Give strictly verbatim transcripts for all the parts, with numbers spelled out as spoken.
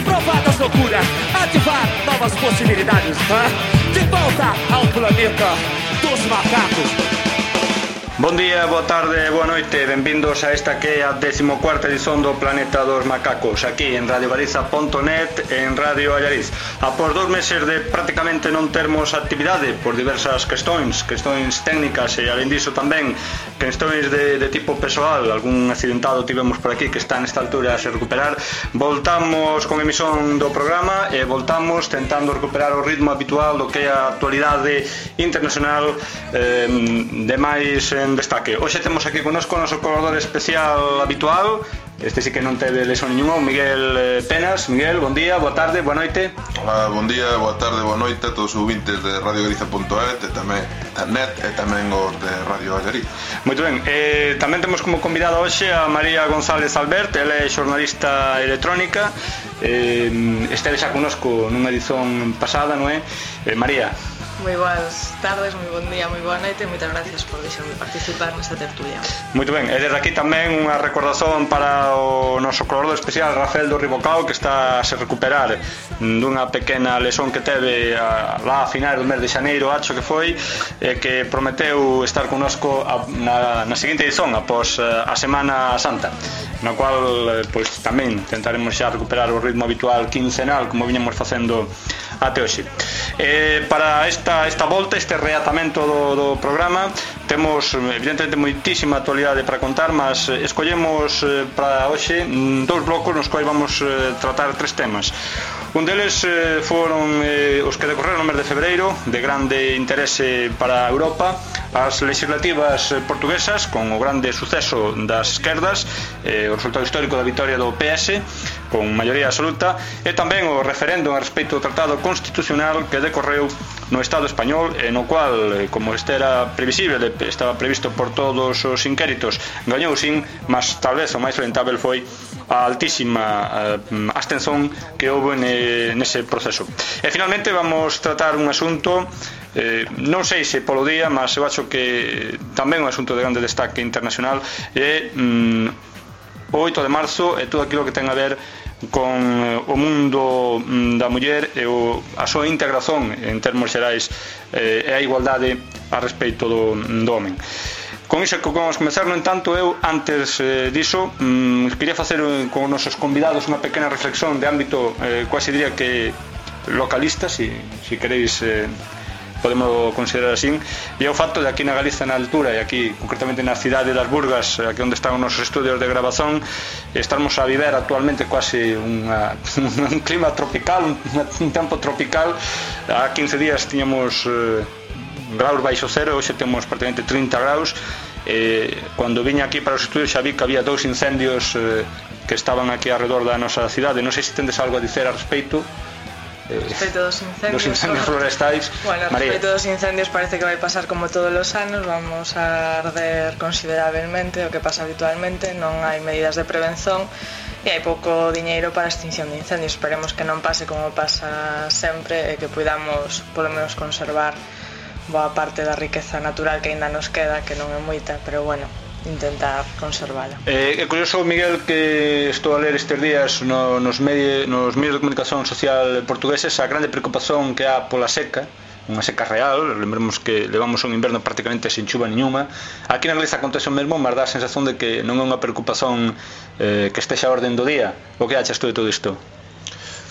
provar das loucuras, ativar novas possibilidades, né? De volta ao planeta dos macacos. Bon día, boa tarde, boa noite, benvindos a esta que é a decimocuarta edición do Planeta dos Macacos, aquí en radio galiza punto net e en Radio Allariz. Após dous meses de prácticamente non termos actividade por diversas questões, questões técnicas e alén diso tamén questões de, de tipo persoal, algún accidentado tivemos por aquí que está nesta altura a se recuperar, voltamos con emisión do programa e voltamos tentando recuperar o ritmo habitual do que é a actualidade internacional eh, de máis en destaque. Hoxe temos aquí connosco o noso colaborador especial habitual. Este sí que non teve lesión ninguna, o Miguel Penas. Miguel, bon día, boa tarde, boa noite. Hola, bon día, boa tarde, boa noite a todos os ouvintes de radio galiza punto net e tamén internet e tamén os de Radio Allariz. Moito ben, eh, tamén temos como convidada hoxe a María González Albert. Ela é xornalista electrónica, eh, esteve xa connosco nunha edición pasada, non é? Eh, María. Moi boas tardes, moi bon día, moi boa noite e moitas gracias por deixarme participar nesta tertulia. Moito ben, e desde aquí tamén unha recordación para o noso colaborador especial Rafael do Ribocao, que está a se recuperar dunha pequena lesión que teve a, lá a final do mes de xaneiro, acho que foi, e que prometeu estar connosco a, na, na seguinte edición após a Semana Santa, na cual pois tamén tentaremos xa recuperar o ritmo habitual quincenal como viñamos facendo até hoxe. Eh, para esta, esta volta, este reatamento do, do programa, temos evidentemente moitísima actualidade para contar, mas escollemos eh, para hoxe dous blocos nos quais vamos eh, tratar tres temas. Un deles eh, foron eh, os que decorreron no mes de febreiro, de grande interese para Europa, as legislativas portuguesas, con o grande suceso das esquerdas, eh, o resultado histórico da vitoria do P S, con maioría absoluta, e tamén o referéndum a respecto do Tratado Constitucional que decorreu no Estado español, e no cual, como este era previsible, estaba previsto por todos os inquéritos, gañou sin, mas tal vez o máis lamentável foi a altísima eh, abstención que houve ne, nese proceso. E finalmente vamos tratar un asunto, eh, non sei se polo día, mas eu acho que tamén un asunto de grande destaque internacional, é mm, o oito de marzo e todo aquilo que ten a ver con o mundo da muller e o, a súa integración en termos xerais eh, e a igualdade a respecto do, do homen. Con iso que vamos comenzar, no entanto, eu antes eh, diso mm, quería facer con os nosos convidados unha pequena reflexión de ámbito eh, quase diría que localista, si, si queréis eh, podemos considerar así, e é o facto de aquí na Galiza na altura e aquí concretamente na cidade das Burgas, aquí onde están os nosos estudios de grabación, estamos a viver actualmente quase unha, un clima tropical, un, un tempo tropical. Há quince días tiñamos eh, graus baixo cero, hoxe temos prácticamente trinta graus. Eh, cando viña aquí para os estudios xa vi que había dous incendios eh, que estaban aquí alrededor da nosa cidade. Non sei se tendes algo a dicer a respecto. Respecto dos incendios, dos incendios florestais. Bueno, María. respecto dos incendios parece que vai pasar como todos os anos, vamos a arder considerablemente, o que pasa habitualmente, non hai medidas de prevención e hai pouco diñeiro para a extinción de incendios. Esperemos que non pase como pasa sempre e que podamos polo menos conservar boa parte da riqueza natural que aínda nos queda, que non é moita, pero bueno, intentar conservala. É eh, curioso, Miguel, que estou a ler estes días no, nos, medios, nos medios de comunicación social portugueses a grande preocupación que há pola seca, unha seca real. Lembremos que levamos un inverno prácticamente sin chuva nenhuma. Aquí na Galiza acontece o mesmo, mas dá a sensación de que non é unha preocupación eh, que estexa a orden do día. O que achas tú de todo isto?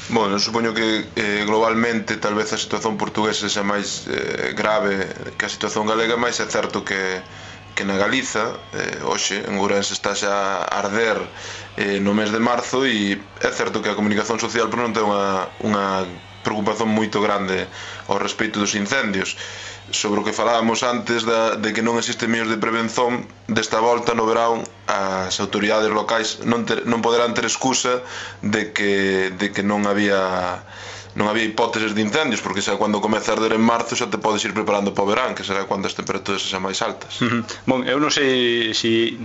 Bueno, supoño que eh, globalmente tal vez a situación portuguesa xa máis eh, grave que a situación galega, mas é certo que que na Galiza, eh, hoxe, en Ourense está xa a arder eh, no mes de marzo, e é certo que a comunicación social pero non ten unha, unha preocupación moito grande ao respecto dos incendios. Sobre o que falábamos antes da, de que non existen medios de prevención, desta volta no verán as autoridades locais non, ter, non poderán ter excusa de que, de que non había non había hipóteses de incendios, porque xa cando comeza a arder en marzo xa te podes ir preparando para o verán, que será cando as temperaturas sexan máis altas. Uh -huh. Bon, eu non sei se si,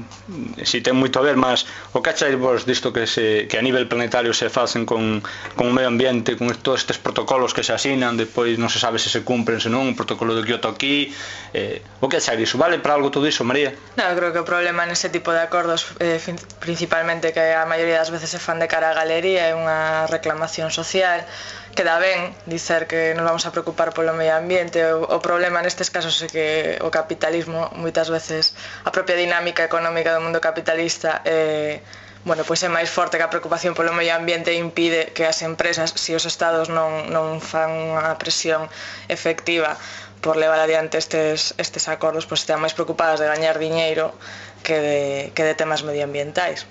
si ten moito a ver, mas o que achai vos disto que, se, que a nivel planetario se facen con, con o medio ambiente, con todos estes protocolos que se asinan, depois non se sabe se se cumpren, se non, o protocolo de Kyoto aquí, eh, o que achai diso? Vale para algo todo iso, María? No, eu creo que o problema nese tipo de acordos eh, principalmente que a maioría das veces se fan de cara a galería é unha reclamación social. Queda ben dicer que nos vamos a preocupar polo medio ambiente. O, o problema nestes casos é que o capitalismo moitas veces, a propia dinámica económica do mundo capitalista eh, bueno, pois é máis forte que a preocupación polo medio ambiente e impide que as empresas, se os estados non, non fan unha presión efectiva por levar adiante estes, estes acordos, pois estean máis preocupadas de gañar diñeiro que de, que de temas medioambientais.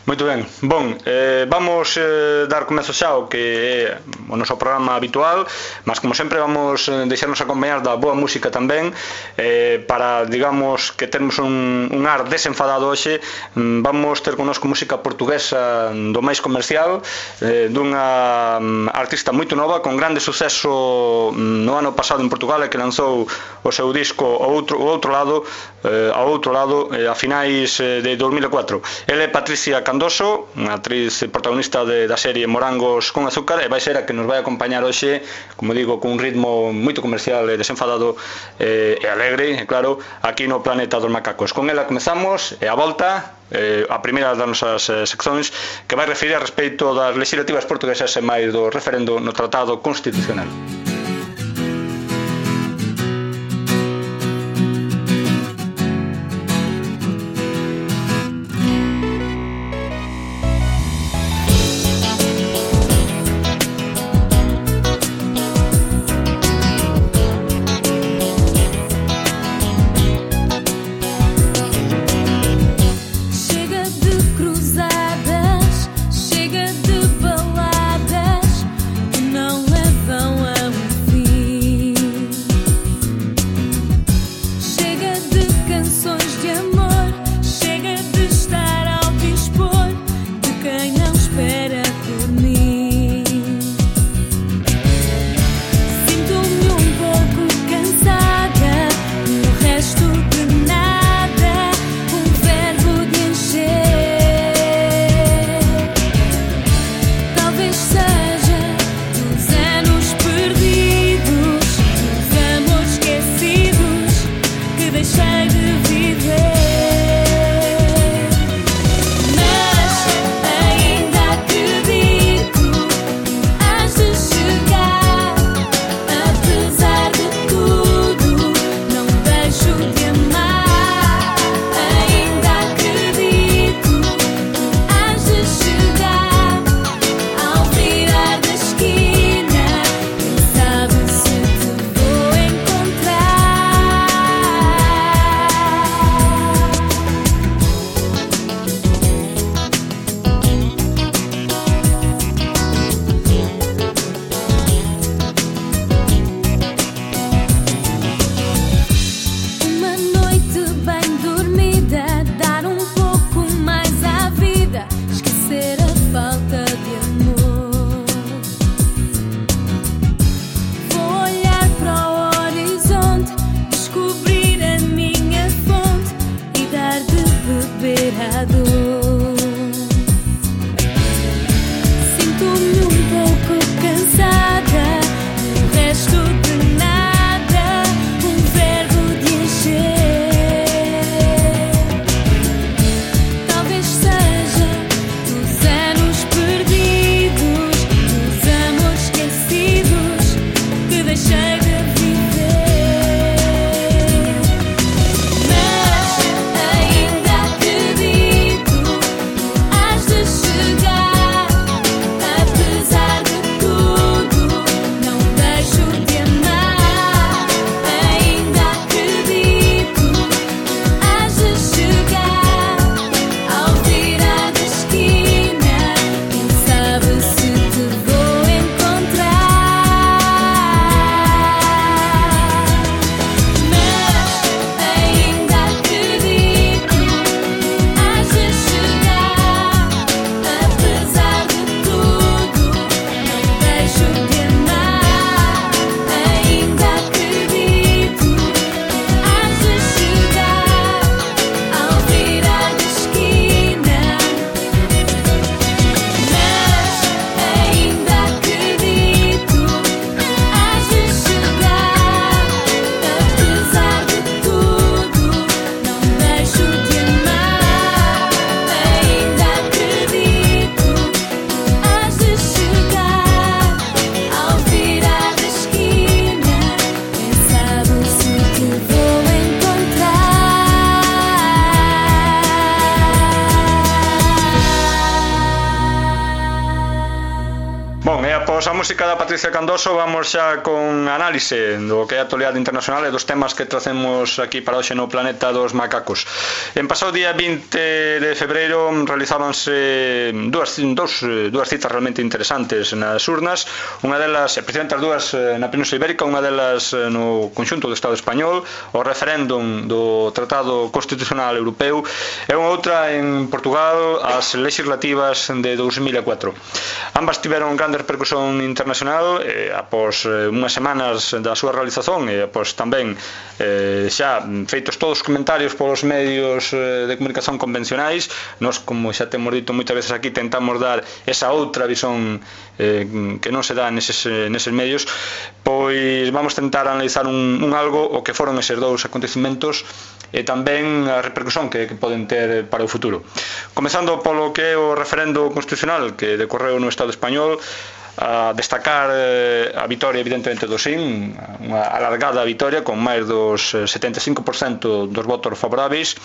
Moito ben, bon, eh, vamos eh, dar comezo xa ao que é o noso programa habitual, mas como sempre vamos eh, deixarnos acompañar da boa música tamén, eh, para, digamos, que termos un, un ar desenfadado hoxe. Vamos ter connosco música portuguesa do máis comercial, eh, dunha um, artista moito nova, con grande suceso no ano pasado en Portugal, e que lanzou o seu disco ao outro, ao outro lado, eh, ao outro lado, eh, a finais eh, de dos mil e catro. Ele é Patricia Candoso, unha actriz protagonista de, da serie Morangos con Azúcar, e vai ser a que nos vai acompañar hoxe, como digo, con un ritmo moito comercial e desenfadado eh, e alegre, e claro, aquí no Planeta dos Macacos. Con ela comezamos, e a volta, eh, a primeira das nosas eh, seccións, que vai referir a respeito das legislativas portuguesas e máis do referendo no Tratado Constitucional. Chega de baladas que não levam a Tras a música da Patricia Candoso, vamos xa con análise do que é a actualidade internacional e dos temas que tracemos aquí para hoxe no Planeta dos Macacos. En pasado día vinte de febreiro realizábanse dúas, dos, dúas citas realmente interesantes nas urnas, unha delas, precisamente as dúas na Península Ibérica, unha delas no conxunto do Estado español, o referéndum do Tratado Constitucional Europeu, e unha outra en Portugal, as legislativas de dous mil e catro. Ambas tiveron grande repercusión internacional eh, após eh, unhas semanas da súa realización e após tamén eh, xa feitos todos os comentarios polos medios eh, de comunicación convencionais. Nós, como xa temos dito moitas veces aquí, tentamos dar esa outra visón eh, que non se dá neses, neses medios. Pois vamos tentar analizar un, un algo o que foron eses dous acontecimentos e tamén a repercusión que, que poden ter para o futuro. Comezando polo que é o referendo constitucional que decorreu no Estado español, a destacar eh, a vitoria evidentemente do sí, unha alargada vitoria con máis dos setenta e cinco por cento dos votos favoráveis,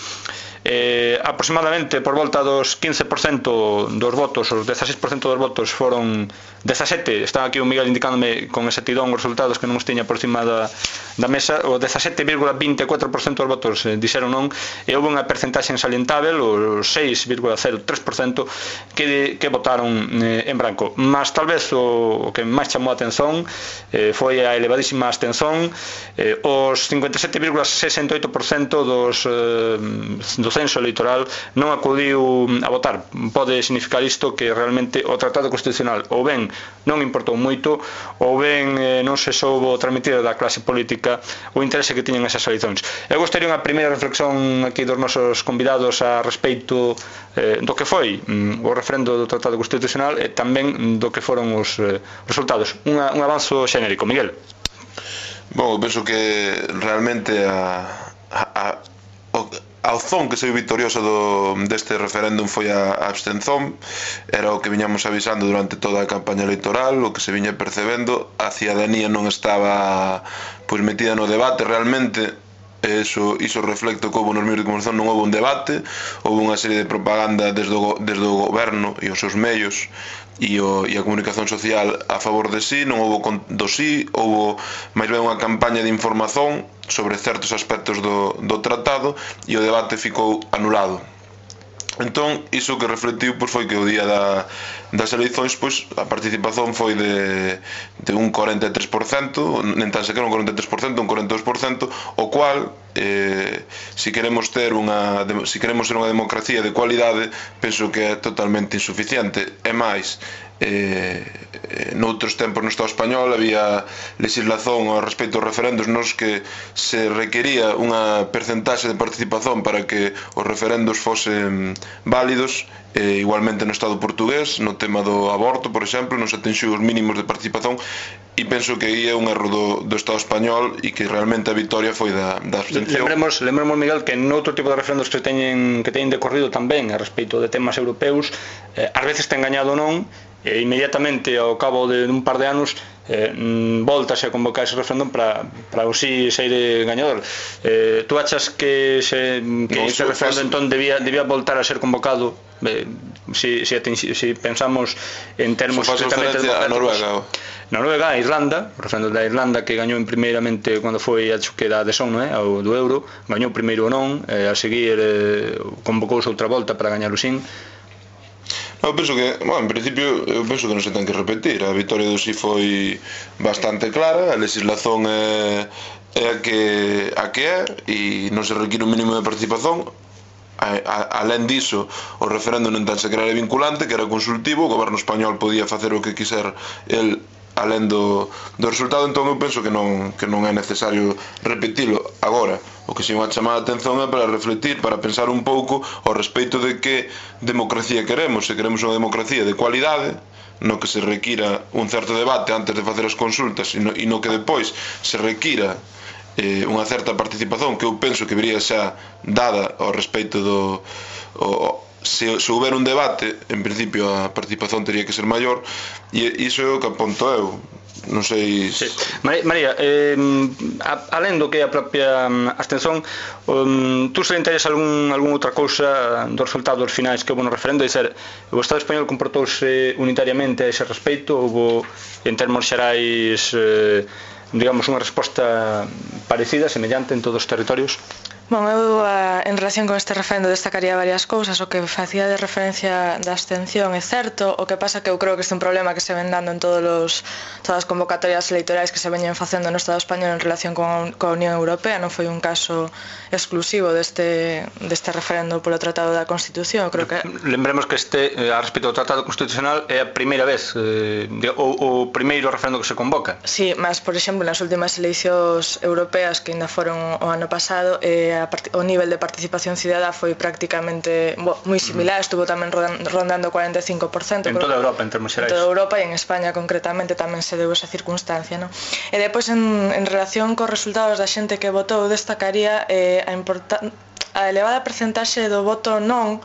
eh, aproximadamente por volta dos quince por cento dos votos, os dieciséis por cento dos votos foron dezasete, está aquí o Miguel indicándome con exatidón os resultados que non os tiña por cima da, da mesa, o dezasete vírgula vinte e catro por cento dos votos eh, dixeron non, e houve unha percentaxe salientável, o seis vírgula cero tres por cento que, que votaron eh, en branco. Mas tal vez o, o que máis chamou a atención eh, foi a elevadísima abstención, eh, os cincuenta e sete vírgula sesenta e oito por cento dos eh, do censo electoral non acudiu a votar. Pode significar isto que realmente o Tratado Constitucional ou ben non importou moito ou ben eh, non se soubo transmitir da clase política o interese que tiñan esas eleicións. Eu gostaría unha primeira reflexión aquí dos nosos convidados a respeito eh, do que foi mm, o referendo do Tratado Constitucional e tamén do que foron os eh, resultados. Unha, un avanzo xenérico. Miguel. Bom, eu penso que realmente a, a, a, a opción que saiu victoriosa do, deste referéndum foi a, a abstención. Era o que viñamos avisando durante toda a campaña electoral, o que se viña percebendo. A cidadanía non estaba pois metida no debate realmente. Eso, iso reflecto que houve nos medios de comunicación, non houve un debate, houve unha serie de propaganda desde o, desde o goberno e os seus medios e, o, e a comunicación social a favor de sí, non houve do sí, houve máis ben unha campaña de información sobre certos aspectos do, do tratado e o debate ficou anulado. Entón, iso que reflectiu pois, foi que o día da, das eleições pois, a participación foi de, de un cuarenta e tres por cento, nen tan sequera un cuarenta e tres por cento, un cuarenta e dos por cento, o cual, eh, se queremos ter unha, se queremos ter unha democracia de cualidade, penso que é totalmente insuficiente. E máis, eh, noutros tempos no Estado español había legislación ao respecto aos referendos nos que se requería unha percentaxe de participación para que os referendos fosen válidos. E igualmente no Estado portugués, no tema do aborto, por exemplo, non se atinxiu os mínimos de participación, e penso que aí é un erro do, do Estado español e que realmente a vitoria foi da, da abstención. Lembremos, lembremos, Miguel, que noutro tipo de referendos que teñen, que teñen decorrido tamén a respecto de temas europeus, eh, ás veces ten gañado non, e inmediatamente ao cabo de un par de anos eh, voltase a convocar ese referéndum para, para o sí ser gañador. Eh, tú achas que, se, que no, ese referéndum entón debía, debía voltar a ser convocado? Eh, si, si, si pensamos en termos estritamente a Noruega, Noruega, a Irlanda, o referéndum da Irlanda que gañou primeiramente cando foi a que da adhesión, non é, ao do euro, gañou primeiro o non, eh, a seguir eh, convocouse outra volta para gañar o sin. Eu penso que, bueno, en principio, eu penso que non se ten que repetir. A vitoria do sí foi bastante clara, a legislación é, é a que a que é e non se require un mínimo de participación. A, a, alén diso, o referéndum non tan sequera era vinculante, que era consultivo, o goberno español podía facer o que quiser el alén do, do resultado. Entón eu penso que non, que non é necesario repetilo. Agora, o que si unha chamada de atención é para refletir, para pensar un pouco ao respecto de que democracia queremos. Se queremos unha democracia de cualidade, no que se requira un certo debate antes de facer as consultas e no, e no que depois se requira eh, unha certa participación que eu penso que debería xa dada ao respecto do o, se, se houber un debate, en principio a participación teria que ser maior, e iso é o que aponto eu. non sei... Sí. María, eh, alén do que é a propia abstención, um, tú salientarías algún, algún outra cousa dos resultados finais que houve no referendo? É dizer, o Estado español comportouse unitariamente a ese respeito? Houve, en termos xerais, eh, digamos, unha resposta parecida, semellante en todos os territorios? Bom, eu en relación con este referendo destacaría varias cousas. O que facía de referencia da abstención é certo, o que pasa que eu creo que este é un problema que se ven dando en todos los, todas as convocatorias electorais que se veñen facendo no Estado español en relación con, con a Unión Europea. Non foi un caso exclusivo deste, deste referendo polo Tratado da Constitución. Creo que... Lembremos que este, a respecto do Tratado Constitucional, é a primeira vez, eh, o, o primeiro referendo que se convoca. Sí, mas, por exemplo, nas últimas eleicións europeas que ainda foron o ano pasado, eh, o nivel de participación cidadá foi prácticamente bo, moi similar, estuvo tamén rondando o cuarenta e cinco por cento en toda Europa, en termos xerais. En toda Europa e en España concretamente tamén se deu esa circunstancia, ¿no? E depois en, en relación cos resultados da xente que votou, destacaría eh, a, a elevada percentaxe do voto non,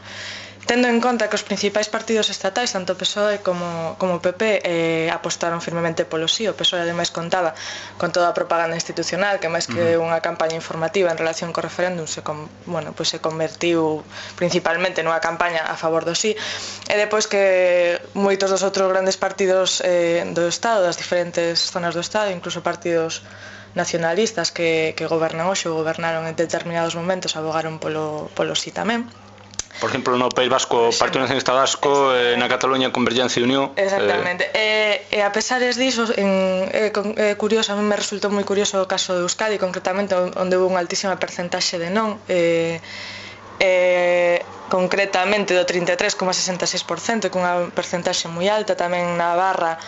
tendo en conta que os principais partidos estatais, tanto P S O E como, como P P, eh, apostaron firmemente polo sí. O P S O E ademais contaba con toda a propaganda institucional, que máis que unha campaña informativa en relación co referéndum se, con, bueno, pues se convertiu principalmente nunha campaña a favor do sí. E depois que moitos dos outros grandes partidos eh, do Estado, das diferentes zonas do Estado, incluso partidos nacionalistas que, que gobernan hoxe ou gobernaron en determinados momentos, abogaron polo, polo sí tamén. Por exemplo, no País Vasco, o Partido Nacionalista Vasco, eh, na Cataluña, Convergencia e Unión. Exactamente. Eh... E, e a pesares diso, en, é, é curioso, a mí me resultou moi curioso o caso de Euskadi, concretamente, onde houve unha altísima percentaxe de non, eh, eh, concretamente do trinta e tres coma sesenta e seis por cento, que unha percentaxe moi alta. Tamén na Navarra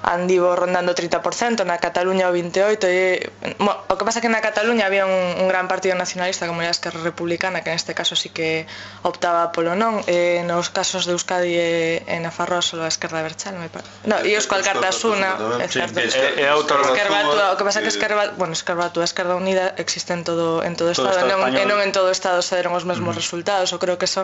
andivo rondando o trinta por cento, na Cataluña o vinte e oito por cento. E, bueno, o que pasa é que na Cataluña había un, un gran partido nacionalista como era a Esquerra Republicana, que neste caso sí que optaba polo non. E nos casos de Euskadi e, e Nafarroa solo a Esquerda Abertzale, me parece. No, e Euskal Cartasuna, é certo. E a outra o que pasa é que Esquerra, bueno, Esquerra Batua, Esquerda Unida existe en todo en todo o Estado, e non, non en todo o Estado se deron os mesmos resultados. Eu creo que eso,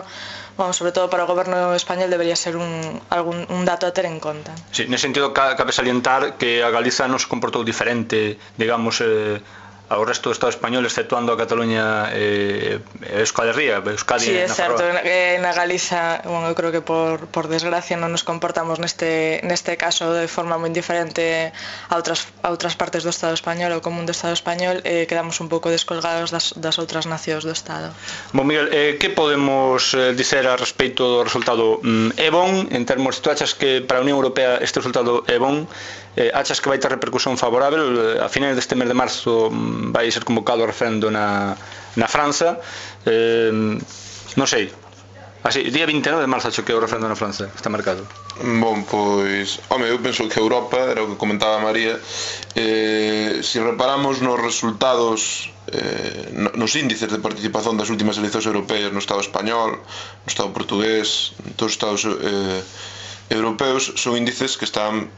vamos, sobre todo para o goberno español debería ser un algún un dato a ter en conta. Sí, nese sentido cabe salientar que a Galiza non se comportou diferente, digamos, eh, ao resto do Estado español, exceptuando a Cataluña e eh, Euskal Herria, Euskadi. Sí, é certo, que na Galiza, bueno, eu creo que por, por desgracia non nos comportamos neste, neste caso de forma moi diferente a outras, a outras partes do Estado español, ou común do Estado español, e eh, quedamos un pouco descolgados das, das outras nacións do Estado. Bon, Miguel, eh, que podemos eh, dizer a respecto do resultado? Mm, é bon, en termos, tú achas que para a Unión Europea este resultado é bon? Eh, achas que vai ter repercusión favorável? A finais deste mes de marzo vai ser convocado o referendo na, na França, eh, non sei, así, día vinte e nove de marzo acho que é o referendo na França, está marcado. Bon, pois, home, eu penso que Europa, era o que comentaba María, eh, se reparamos nos resultados, eh, nos índices de participación das últimas eleccións europeas no Estado español, no Estado portugués, en todos os Estados eh, europeos, son índices que están,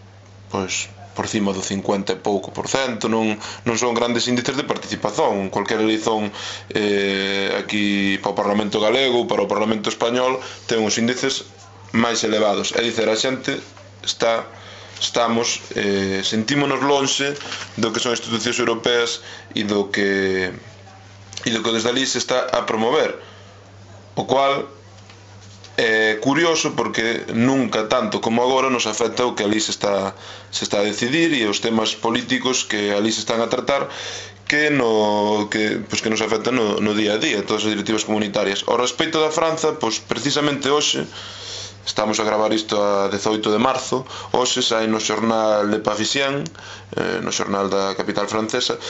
pois, por cima do cincuenta e pouco por cento, non, non son grandes índices de participación. Cualquier eleición eh, aquí para o Parlamento galego ou para o Parlamento español ten uns índices máis elevados. É dicer, a xente está, estamos, eh, sentímonos lonxe do que son institucións europeas e do que e do que desde ali se está a promover, o cual é curioso porque nunca tanto como agora nos afecta o que ali se está, se está a decidir e os temas políticos que ali se están a tratar que, no, que, pues que nos afectan no, no día a día, todas as directivas comunitarias. Ao respecto da França, pues, precisamente hoxe, estamos a gravar isto a dezoito de marzo, hoxe sai no xornal Le Parisien, eh, no xornal da capital francesa,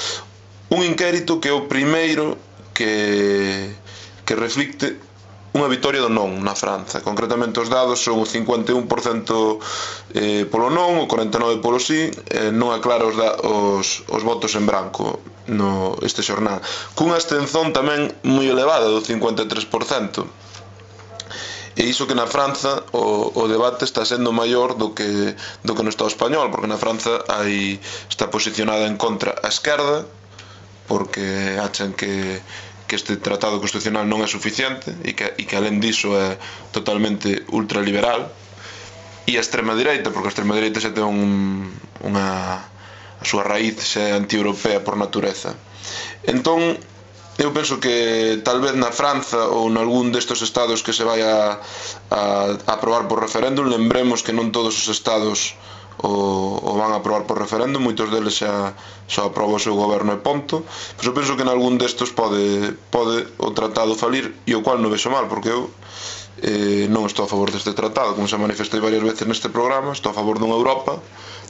un inquérito que é o primeiro que, que reflicte unha vitoria do non na França. Concretamente os dados son o cincuenta e un por cento eh, polo non, o corenta e nove por cento polo sí, eh, non aclara os, da, os, os votos en branco no este xornal, cunha abstención tamén moi elevada do cincuenta e tres por cento. E iso que na França o, o debate está sendo maior do que, do que no Estado español, porque na França hai, está posicionada en contra a esquerda, porque achan que que este tratado constitucional non é suficiente e que, e que alén diso é totalmente ultraliberal, e a extrema direita, porque a extrema direita xa ten un, unha, a súa raíz xa anti-europea por natureza. Entón, eu penso que tal vez na Franza ou nalgún destes estados que se vai a, a, a aprobar por referéndum, lembremos que non todos os estados o, o van a aprobar por referéndum, moitos deles xa, xa aproba o seu goberno e ponto, pois eu penso que nalgún destes pode, pode o tratado falir, e o cual non vexo mal, porque eu eh, non estou a favor deste tratado, como se manifestei varias veces neste programa. Estou a favor dunha Europa,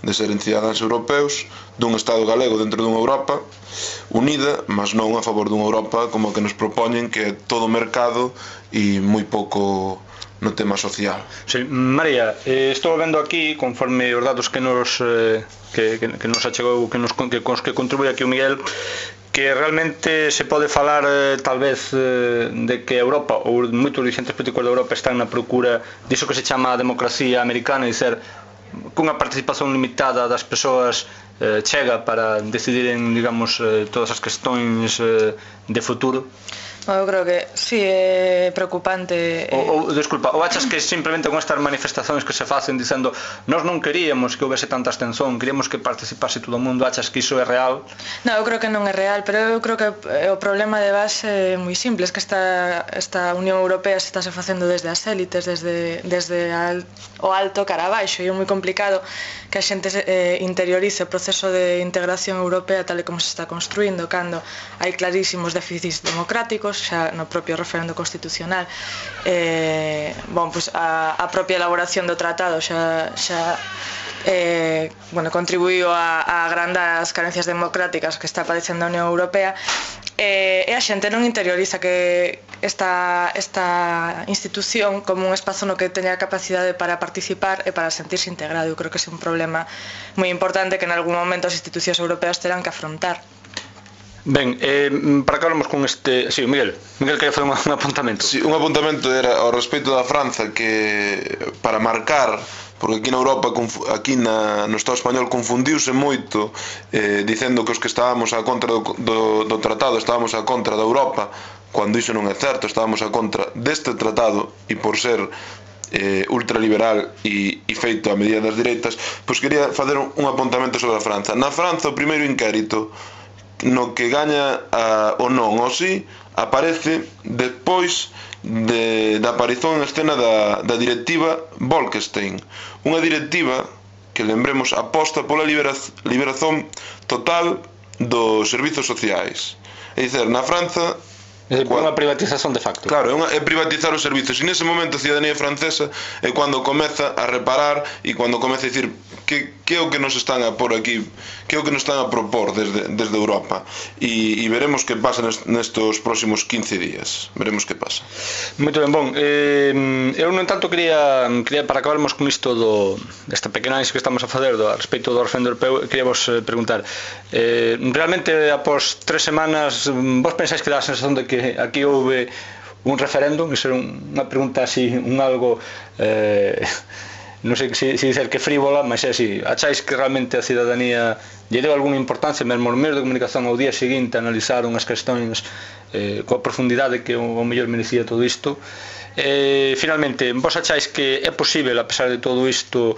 de seren cidadáns europeos, dun Estado galego dentro dunha Europa unida, mas non a favor dunha Europa como a que nos propoñen, que é todo mercado e moi pouco no tema social. Sí, María, eh, estou vendo aquí, conforme os datos que nos eh, que, que, que nos achegou, que nos que, cos que contribui aquí o Miguel, que realmente se pode falar eh, tal vez eh, de que Europa ou moitos dirigentes políticos de Europa están na procura diso que se chama a democracia americana, e ser cunha participación limitada das persoas eh, chega para decidiren, digamos, eh, todas as cuestións eh, de futuro. Eu creo que sí, é preocupante. Ou, ou, desculpa, ou achas que simplemente con estas manifestacións que se facen dicendo nós non queríamos que houvese tanta abstención, queríamos que participase todo o mundo, achas que iso é real? Non, eu creo que non é real, pero eu creo que o problema de base é moi simple, é que esta, esta Unión Europea se estáse facendo desde as élites, desde, desde al, o alto cara abaixo, e é moi complicado que a xente eh, interiorice o proceso de integración europea tal e como se está construindo, cando hai clarísimos déficits democráticos xa no propio referendo constitucional. Eh, bon, pues a, a propia elaboración do tratado xa, xa eh, bueno, contribuíu a, a agrandar as carencias democráticas que está padecendo a Unión Europea, eh, e a xente non interioriza que esta, esta institución como un espazo no que teña capacidade para participar e para sentirse integrado. Eu creo que é un problema moi importante que en algún momento as institucións europeas terán que afrontar. Ben, eh, para que hablamos con este... Sí, Miguel, Miguel quería facer un, un apuntamento. Sí, un apuntamento era ao respecto da Franza, que para marcar, porque aquí na Europa, aquí na, no Estado español confundiuse moito eh, dicendo que os que estábamos a contra do, do, do tratado estábamos a contra da Europa, cando iso non é certo, estábamos a contra deste tratado, e por ser eh, ultraliberal e, e feito a medida das direitas, pois quería facer un, un apuntamento sobre a Franza. Na Franza o primeiro inquérito no que gaña a, o non ou si aparece despois de, da aparición en escena da, da directiva Bolkestein, unha directiva que, lembremos, aposta pola liberaz, liberación total dos servizos sociais. É dizer, na Franza é unha privatización de facto. Claro, é, unha, é privatizar os servizos, e nese momento a cidadanía francesa é cando comeza a reparar e cando comeza a dicir que, que é o que nos están a por aquí, que é o que nos están a propor desde, desde Europa, e, e veremos que pasa nestos próximos quince días, veremos que pasa. Moito ben, bon, eh, eu non tanto quería, quería para acabarmos con isto do, desta pequena análise que estamos a facer do, a respecto do referendo europeo, quería vos eh, preguntar, eh, realmente após tres semanas vos pensáis que dá a sensación de que aquí houve un referéndum? Iso é unha pregunta así, un algo eh, non sei se si dicer que frívola, mas é así, acháis que realmente a cidadanía lle deu algunha importancia, mesmo os medios de comunicación ao día seguinte analizaron as cuestións eh, coa profundidade que o mellor merecía todo isto? Eh, finalmente, vos acháis que é posible, a pesar de todo isto,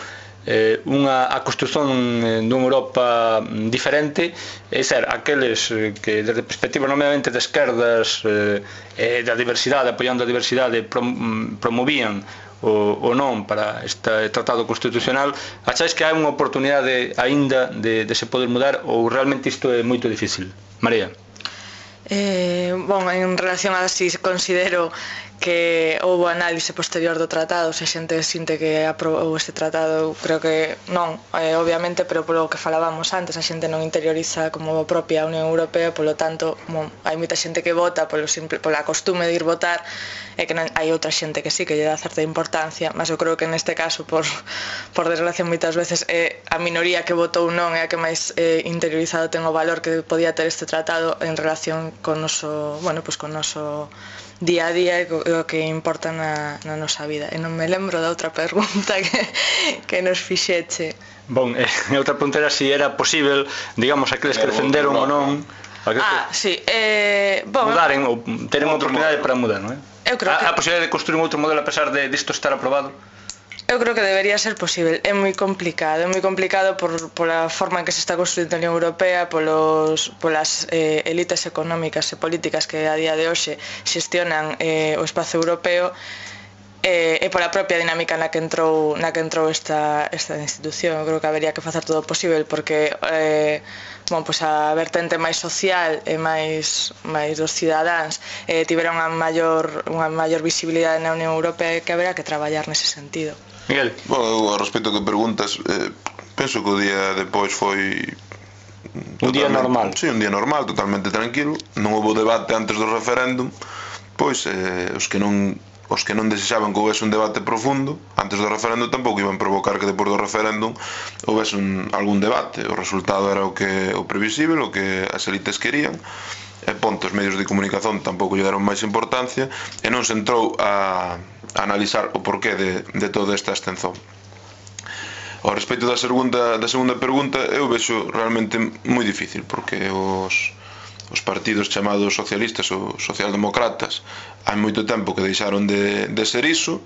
eh, unha a construción eh, dunha Europa diferente, é ser, aqueles eh, que desde perspectiva nomeadamente de esquerdas eh, e da diversidade, apoiando a diversidade, prom promovían o, o non para este tratado constitucional, acháis que hai unha oportunidade aínda de, de se poder mudar, ou realmente isto é moito difícil? María. Eh, bon, en relación a si considero que houve análise posterior do tratado, se a xente sinte que aprobou este tratado, creo que non, eh, obviamente, pero polo que falábamos antes, a xente non interioriza como a propia Unión Europea, polo tanto, bon, hai moita xente que vota polo simple, pola costume de ir votar, e que non, hai outra xente que sí, que lle dá certa importancia, mas eu creo que neste caso, por, por desgracia, moitas veces é a minoría que votou non é a que máis eh, interiorizado ten o valor que podía ter este tratado en relación con noso, bueno, pues con noso día a día e o que importa na, na nosa vida. E non me lembro da outra pregunta que, que nos fixeche. Bon, eh, outra pregunta era se si era posible, digamos, aqueles que defenderon ou non ah, sí, eh, bon, mudaren ou teren unha oportunidade para mudar, non é? Eu creo a, que... a posibilidade de construir un outro modelo a pesar de isto estar aprobado? Eu creo que debería ser posible. É moi complicado, é moi complicado por, pola forma en que se está construindo a Unión Europea, polos, polas eh, elites económicas e políticas que a día de hoxe xestionan eh, o espazo europeo, e, e pola propia dinámica na que entrou na que entrou esta, esta institución. Eu creo que habería que facer todo o posible porque eh, bon, pues a vertente máis social e máis, máis dos cidadáns eh, tiveron unha maior, unha maior visibilidade na Unión Europea e que haberá que traballar nese sentido. Miguel. Bueno, a respecto que preguntas, eh, penso que o día depois foi un día normal. Sí, un día normal, totalmente tranquilo. Non houve debate antes do referéndum. Pois eh, os que non os que non desexaban que houvese un debate profundo antes do referéndum tampouco iban provocar que depois do referéndum houvese un, algún debate. O resultado era o que o previsible, o que as elites querían, e ponto, os medios de comunicación tampouco lle deron máis importancia e non se entrou a, a analizar o porqué de, de toda esta abstención. Ao respecto da segunda, da segunda pregunta, eu vexo realmente moi difícil, porque os os partidos chamados socialistas ou socialdemócratas hai moito tempo que deixaron de, de ser iso.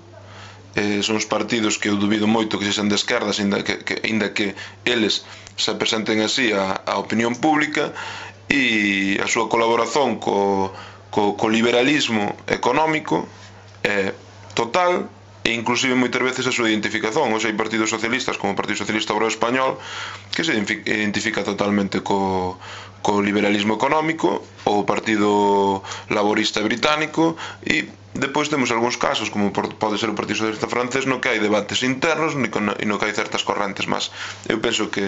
Eh, son os partidos que eu dubido moito que sexan de esquerdas, ainda que, que, ainda que eles se presenten así a, a opinión pública, e a súa colaboración co, co, co liberalismo económico é total, e inclusive moitas veces a súa identificación. Hoxe hai partidos socialistas como o Partido Socialista Obrero Español que se identifica totalmente co, co liberalismo económico, ou o Partido Laborista Británico, e depois temos algúns casos como pode ser o Partido Socialista Francés no que hai debates internos e no que hai certas correntes máis. Eu penso que,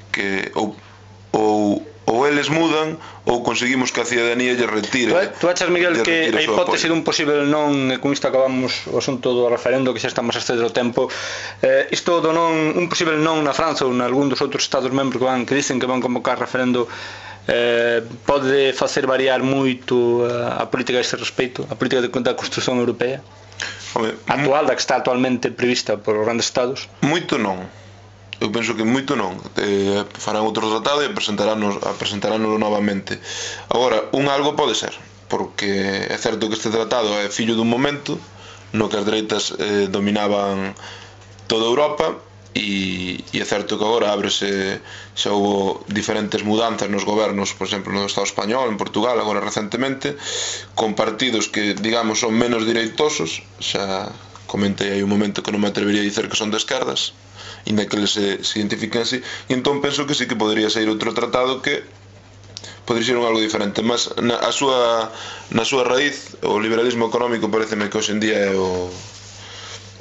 que ou, ou ou eles mudan ou conseguimos que a cidadanía lle retire. Tú achas, Miguel, que a hipótese dun posible non, e con isto acabamos o asunto do referendo, que xa estamos a exceder o tempo, eh, isto do non, un posible non na França ou en algún dos outros estados membros que van que dicen que van convocar referendo, eh, pode facer variar moito a, a política a ese respeito, a política de, da construción europea? Home, actual, da que está actualmente prevista por os grandes estados? Moito non. Eu penso que moito non. Eh, farán outro tratado e presentarános, presentaránoslo novamente. Agora, un algo pode ser, porque é certo que este tratado é fillo dun momento no que as dereitas eh, dominaban toda Europa, e, e é certo que agora ábrese, xa houve diferentes mudanzas nos gobernos, por exemplo no Estado español, en Portugal agora recentemente, con partidos que digamos son menos direitosos. Xa comentei aí un momento que non me atrevería a dicer que son de esquerdas, inda que eles se, se identifiquen así, e entón penso que sí que podría ser outro tratado que podría ser un algo diferente, mas na, a súa, na súa raíz o liberalismo económico pareceme que hoxe en día é o,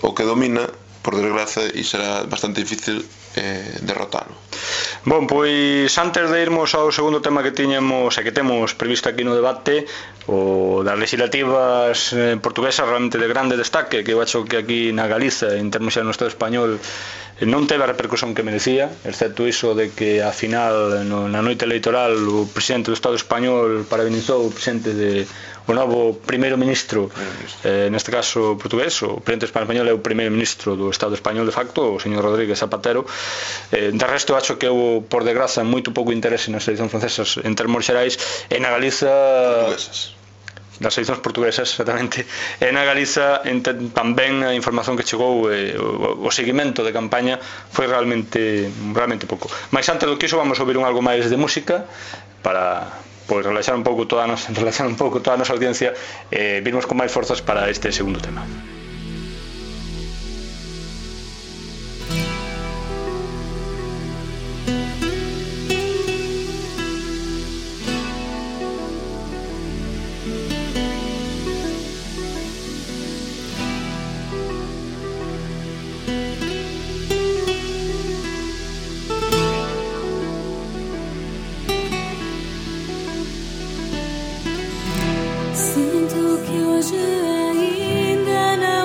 o que domina, por desgracia, e será bastante difícil eh, derrotalo. Bon, pois antes de irmos ao segundo tema que tiñamos e que temos previsto aquí no debate, o das legislativas eh, portuguesas, realmente de grande destaque, que eu acho que aquí na Galiza, en termos xa no Estado español, non teve a repercusión que merecía, excepto iso de que a final no, na noite electoral o presidente do Estado español parabenizou o presidente de o novo primeiro ministro, eh, neste caso portugués. O presidente español é o primeiro ministro do Estado español de facto, o señor Rodríguez Zapatero. Eh, de resto, acho que houve, por desgraza, moito pouco interese nas eleccións francesas en termos xerais, e na Galiza portuguesas. Das eleccións portuguesas, exactamente, e na Galiza tamén a información que chegou, e o, o seguimento de campaña foi realmente realmente pouco. Mais antes do que iso vamos a ouvir un algo máis de música para pois relaxar un pouco toda a nosa, relaxar un pouco toda a nosa audiencia e eh, virmos con máis forzas para este segundo tema. Sinto que hoje ainda não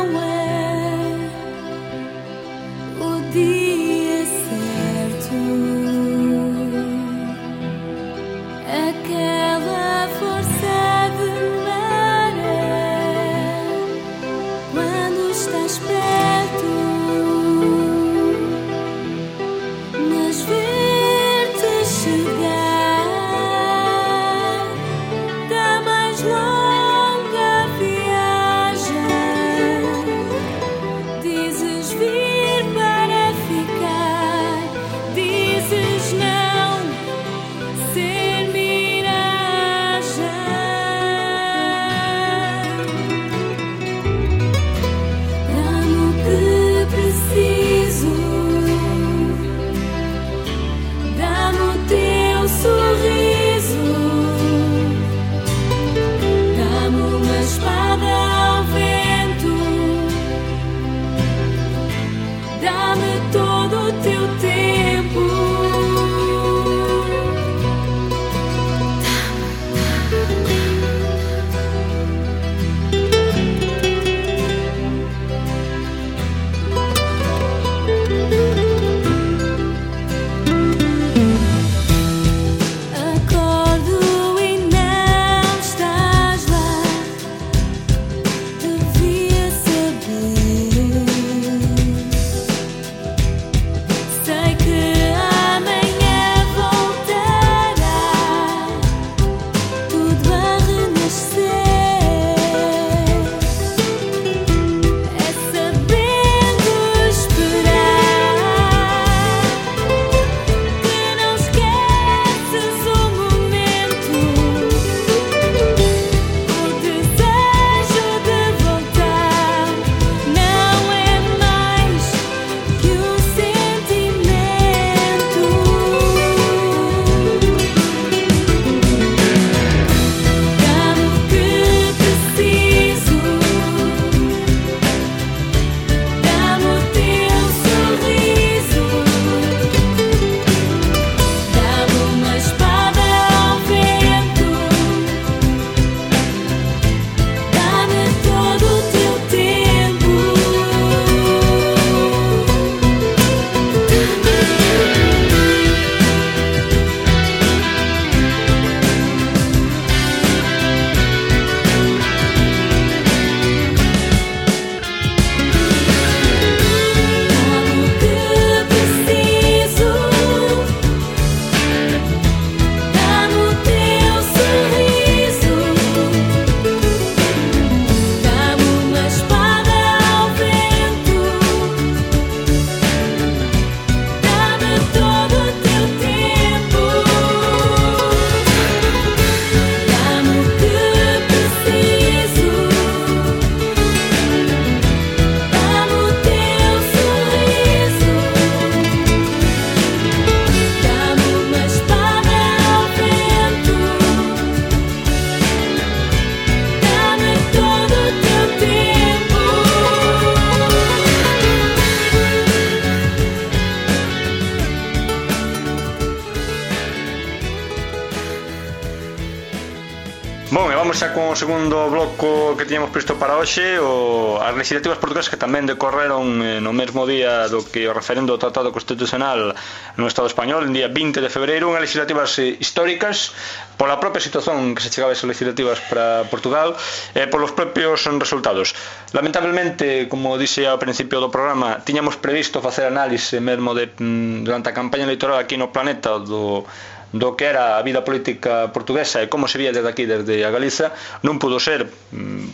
Bon, e vamos xa con o segundo bloco que tiñamos previsto para hoxe, o, as legislativas portuguesas que tamén decorreron eh, no mesmo día do que o referendo do Tratado Constitucional no Estado español, en día vinte de febreiro, unhas legislativas eh, históricas pola propia situación que se chegaba a esas legislativas para Portugal e eh, polos propios resultados. Lamentablemente, como dixe ao principio do programa, tiñamos previsto facer análise mesmo de, durante a campaña electoral aquí no planeta do do que era a vida política portuguesa e como se vía desde aquí, desde a Galiza. Non pudo ser,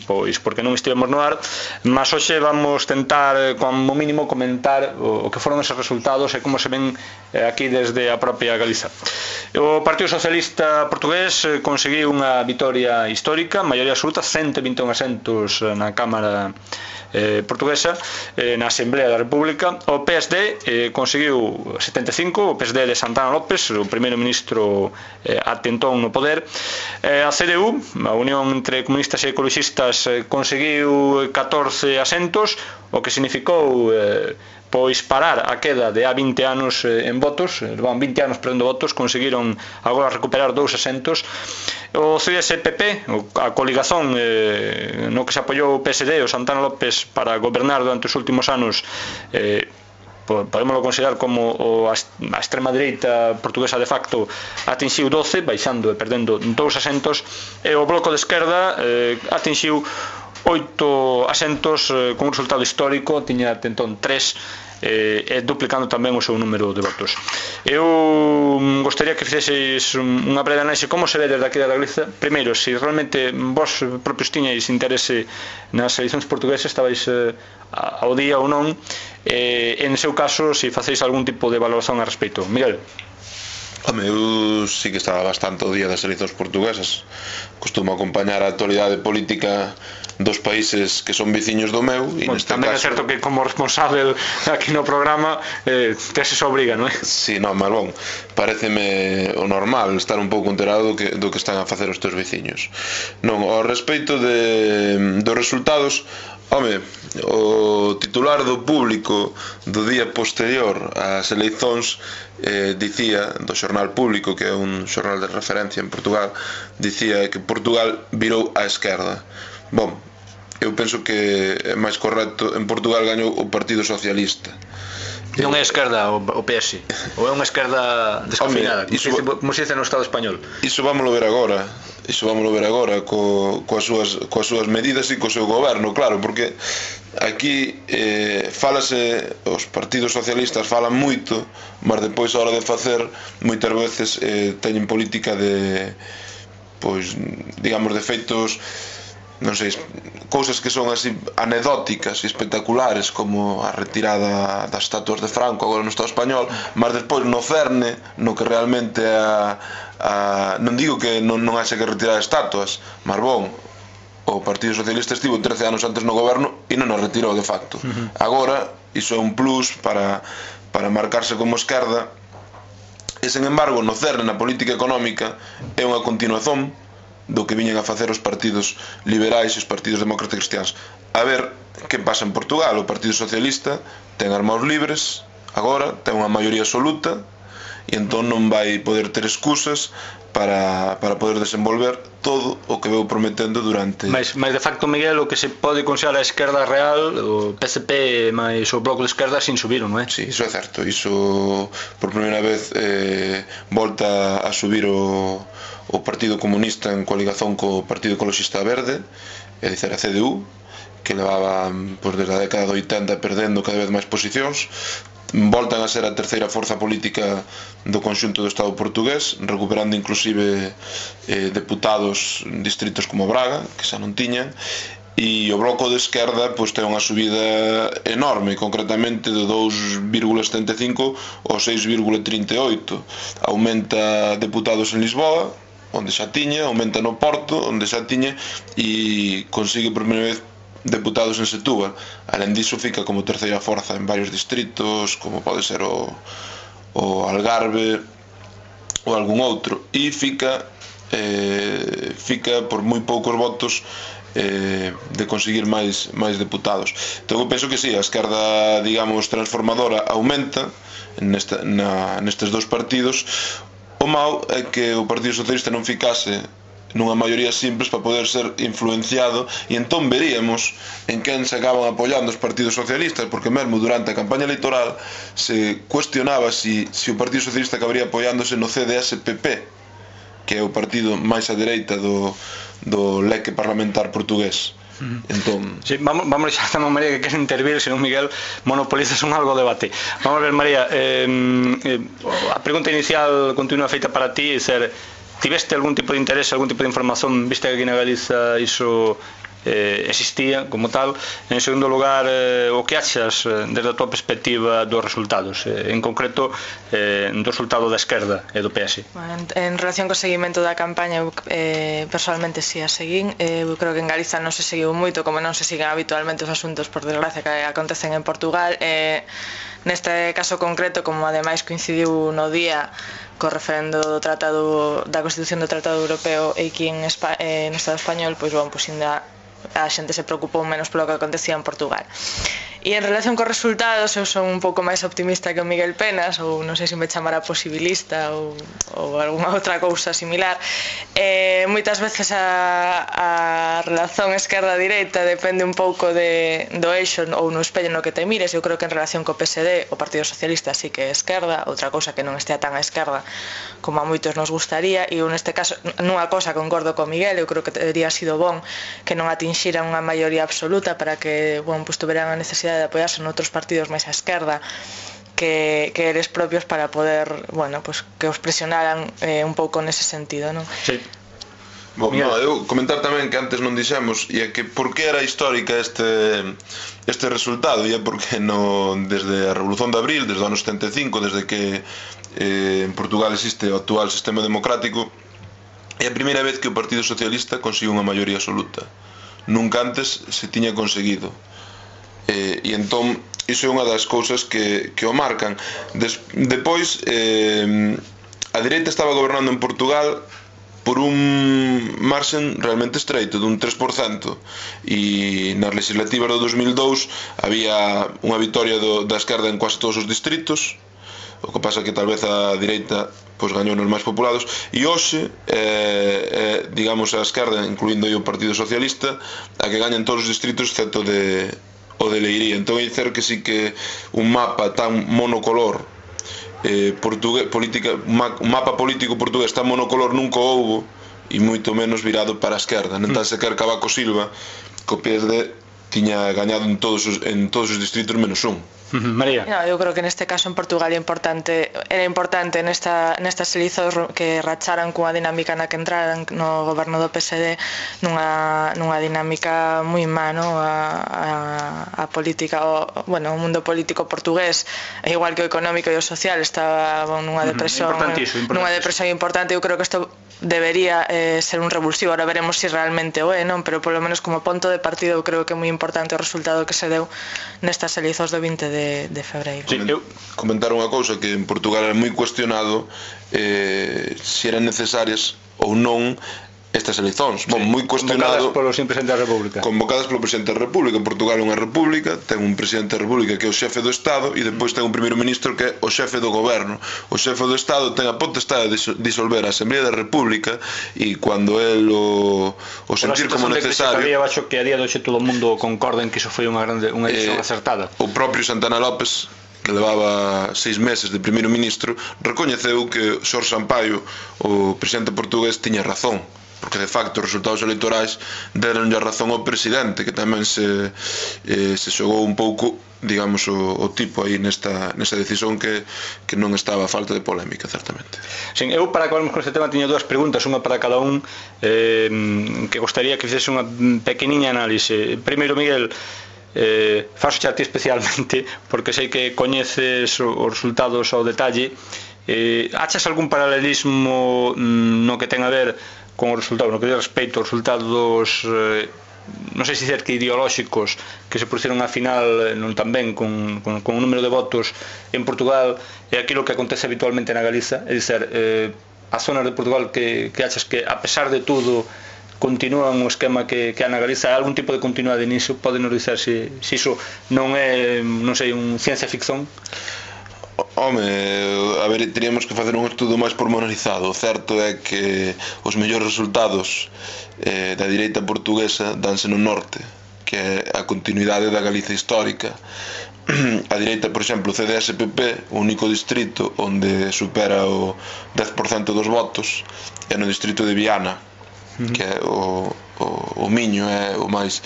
pois porque non estivemos no ar, mas hoxe vamos tentar, como mínimo, comentar o que foron esos resultados e como se ven aquí desde a propia Galiza. O Partido Socialista Portugués conseguiu unha vitoria histórica, maioría absoluta, ciento vinte e un asentos na Cámara Eh, portuguesa, eh, na Asamblea da República. O P S D eh, conseguiu setenta e cinco, o P S D de Santana López, o primeiro ministro eh, atentón no poder. eh, a C D U, a Unión entre Comunistas e Ecologistas, eh, conseguiu catorce asentos, o que significou eh, pois parar a queda de há vinte anos eh, en votos, van vinte anos perdendo votos, conseguiron agora recuperar dous asentos. O C D S P P, a coligazón eh, no que se apoiou o P S D, o Santana López, para gobernar durante os últimos anos, eh, podemos considerar como o, a extrema dereita portuguesa de facto, atinxiu doce, baixando e perdendo dous asentos, e o Bloco de Esquerda eh, atinxiu oito asentos eh, con un resultado histórico, tiña entón tres, e eh, duplicando tamén o seu número de votos. Eu gostaría que fixeseis unha breve análise como se ve desde aquí da Galiza. Primeiro, se realmente vos propios tiñais interese nas eleicións portuguesas, estabais eh, ao día ou non, e en seu caso, se facéis algún tipo de valoración a respecto. Miguel. Home, eu sí que estaba bastante ao día das eleicións portuguesas. Costumo acompañar a actualidade política dos países que son veciños do meu, e bueno, neste tamén caso... é certo que como responsable aquí no programa eh, tes esa obriga, non é? Si, sí, non, mas bon, pareceme o normal estar un pouco enterado do que, do que están a facer os teus veciños. Non, ao respecto de, dos resultados, home, o titular do Público do día posterior ás eleicións eh, dicía, do xornal Público, que é un xornal de referencia en Portugal, dicía que Portugal virou á esquerda. Bom, eu penso que é máis correcto, en Portugal gañou o Partido Socialista. Non é esquerda o P S, ou é unha esquerda desconfinada, como, iso, se, como se dice no Estado español. Iso vámoslo ver agora, iso vámoslo ver agora co, coas, súas, coas súas medidas e co seu goberno, claro, porque aquí eh, falase, os partidos socialistas falan moito, mas depois a hora de facer moitas veces eh, teñen política de, pois, digamos, de feitos, non sei, cousas que son así anecdóticas e espectaculares, como a retirada das estatuas de Franco agora no Estado español, mas despois no cerne, no que realmente a, a, non digo que non, non haxe que retirar estatuas, mas bon, o Partido Socialista estivo trece anos antes no goberno e non as retirou de facto. Uh-huh. Agora, iso é un plus para, para marcarse como esquerda, e sen embargo no cerne, na política económica, é unha continuación do que viñen a facer os partidos liberais e os partidos demócratas cristiáns. A ver que pasa en Portugal. O Partido Socialista ten as mãos libres agora, ten unha maioría absoluta, e entón non vai poder ter excusas para, para poder desenvolver todo o que veu prometendo durante... Mas, mas de facto, Miguel, o que se pode considerar a esquerda real, o P S P máis o Bloco de Esquerda, sin subiron, non é? Sí, iso é certo. Iso por primeira vez eh, volta a subir o o Partido Comunista en coligación co Partido Ecologista Verde, é dicir, a C D U, que levaba pois, desde a década de oitenta perdendo cada vez máis posicións. Voltan a ser a terceira forza política do conxunto do Estado portugués, recuperando inclusive eh, deputados en distritos como Braga, que xa non tiñan, e o Bloco de Esquerda pois, ten unha subida enorme, concretamente de dous vírgula setenta e cinco ao seis vírgula trinta e oito. Aumenta deputados en Lisboa, onde xa tiña, aumenta no Porto, onde xa tiña, e consigue por primeira vez deputados en Setúbal. Alén diso, fica como terceira forza en varios distritos, como pode ser o, o Algarve ou algún outro, e fica eh, fica por moi poucos votos eh, de conseguir máis, máis deputados. Entón eu penso que sí, a esquerda, digamos, transformadora aumenta nesta, na, nestes dous partidos. O mau é que o Partido Socialista non ficase nunha maioría simples para poder ser influenciado, e entón veríamos en quen se acaban apoiando os partidos socialistas, porque mesmo durante a campaña electoral se cuestionaba si, si o Partido Socialista acabaría apoiándose no C D S P P, que é o partido máis á dereita do, do leque parlamentar portugués. Entón... Sí, vamos, vamos xa estamos María que quere intervir, senón Miguel monopolizas un algo debate. Vamos a ver, María, eh, eh, a pregunta inicial continúa feita para ti, é ser, tiveste algún tipo de interés, algún tipo de información, viste que aquí na Galiza iso eh, existía como tal? En segundo lugar, eh, o que achas eh, desde a tua perspectiva dos resultados, eh, en concreto eh, do resultado da esquerda e do P S? Bueno, en, en relación co seguimento da campaña, eu eh, personalmente si a seguín, eh, eu creo que en Galiza non se seguiu moito, como non se siguen habitualmente os asuntos, por desgracia, que acontecen en Portugal. eh, neste caso concreto, como ademais coincidiu no día co referendo do tratado da Constitución do Tratado Europeo e aquí en Espa, eh, no Estado español, pois bon, pois ainda a xente se preocupou menos polo que acontecía en Portugal. E en relación cos resultados, eu son un pouco máis optimista que o Miguel Penas, ou non sei se me chamará posibilista ou, ou alguna outra cousa similar. Eh, moitas veces a, a relación esquerda-direita depende un pouco de, do eixo ou no espello no que te mires. Eu creo que en relación co P S D o Partido Socialista sí que é esquerda, outra cousa que non estea tan a esquerda como a moitos nos gustaría, e eu neste caso nunha cousa concordo co Miguel, eu creo que teria sido bon que non atinxira unha maioría absoluta para que, bon, pues, tuveran a necesidade de apoiarse en outros partidos máis á esquerda que, que eres propios para poder, bueno, pues, que os presionaran eh, un pouco nese sentido, non? Sí. Bon, no, eu comentar tamén que antes non dixemos, e é que por que era histórica este este resultado, e é porque no, desde a Revolución de Abril, desde o ano setenta e cinco, desde que eh, en Portugal existe o actual sistema democrático, é a primeira vez que o Partido Socialista consigue unha maioría absoluta. Nunca antes se tiña conseguido. Eh, e entón iso é unha das cousas que, que o marcan. Des, depois eh, a dereita estaba gobernando en Portugal por un marxen realmente estreito, dun tres por cento, e nas legislativas do dos mil dous había unha vitoria do, da esquerda en quase todos os distritos. O que pasa que tal vez a direita pois gañou nos máis populados, e hoxe eh, eh, digamos a esquerda, incluindo o Partido Socialista, a que gaña en todos os distritos excepto de o de Leiría. Entón é dicer que sí que un mapa tan monocolor eh, portugués, política, un mapa político portugués tan monocolor nunca houbo, e moito menos virado para a esquerda. Non tan sequer Cavaco Silva, co P S D, tiña gañado en todos os, en todos os distritos menos un. María. No, eu creo que neste caso en Portugal é importante, era importante nesta, nestas eleições que racharan cunha dinámica na que entraran no goberno do P S D nunha, nunha dinámica moi má, no? a, a, a política, o, bueno, o mundo político portugués, igual que o económico e o social, estaba bon, nunha depresión, nunha depresión importante. Eu creo que isto debería eh, ser un revulsivo. Ahora veremos se si realmente o é, non? Pero polo menos como ponto de partido eu creo que é moi importante o resultado que se deu nestas eleições do vinte de, de febreiro. Sí, eu comentar unha cousa, que en Portugal era moi cuestionado eh, se eran necesarias ou non estas eleições. Bon, moi cuestionado, convocadas polo presidente da República. Convocadas polo presidente da República. Portugal é unha república, ten un presidente da República que é o xefe do Estado, e depois ten un primeiro ministro que é o xefe do goberno. O xefe do Estado ten a potestade de disolver a Asamblea da República, e cando el o, o sentir como necesario. Eu acho que a día de hoxe todo o mundo concorda en que iso foi unha grande unha decisión eh, acertada. O propio Santana López, que levaba seis meses de primeiro ministro, recoñeceu que Xorxe Sampaio, o presidente portugués, tiña razón, porque de facto os resultados electorais deron a razón ao presidente, que tamén se, eh, se xogou un pouco, digamos, o, o tipo aí nesta, nesta decisión que, que non estaba a falta de polémica, certamente. Sim, eu para acabarmos con este tema tiño dúas preguntas, unha para cada un, eh, que gostaría que fixese unha pequeniña análise. Primeiro, Miguel, eh, faxo xa a ti especialmente, porque sei que coñeces os resultados ao detalle. Eh, achas algún paralelismo no que ten a ver con o resultado, no que diz respecto aos resultados, eh, non sei se dizer que ideolóxicos, que se produciron a final non tamén con, con, con un número de votos en Portugal, e aquilo que acontece habitualmente na Galiza, é dizer, eh, as zonas de Portugal que, que achas que a pesar de todo continúan o esquema que, que há na Galiza, hai algún tipo de continuidade niso? Podenos dizer se, se iso non é, non sei, un ciencia ficción? Home, a ver, teríamos que facer un estudo máis pormenorizado. O certo é que os mellores resultados eh, da direita portuguesa danse no norte, que é a continuidade da Galiza histórica. A direita, por exemplo, o C D S P P, o único distrito onde supera o dez por cento dos votos é no distrito de Viana, que é o, o, o Miño, é o máis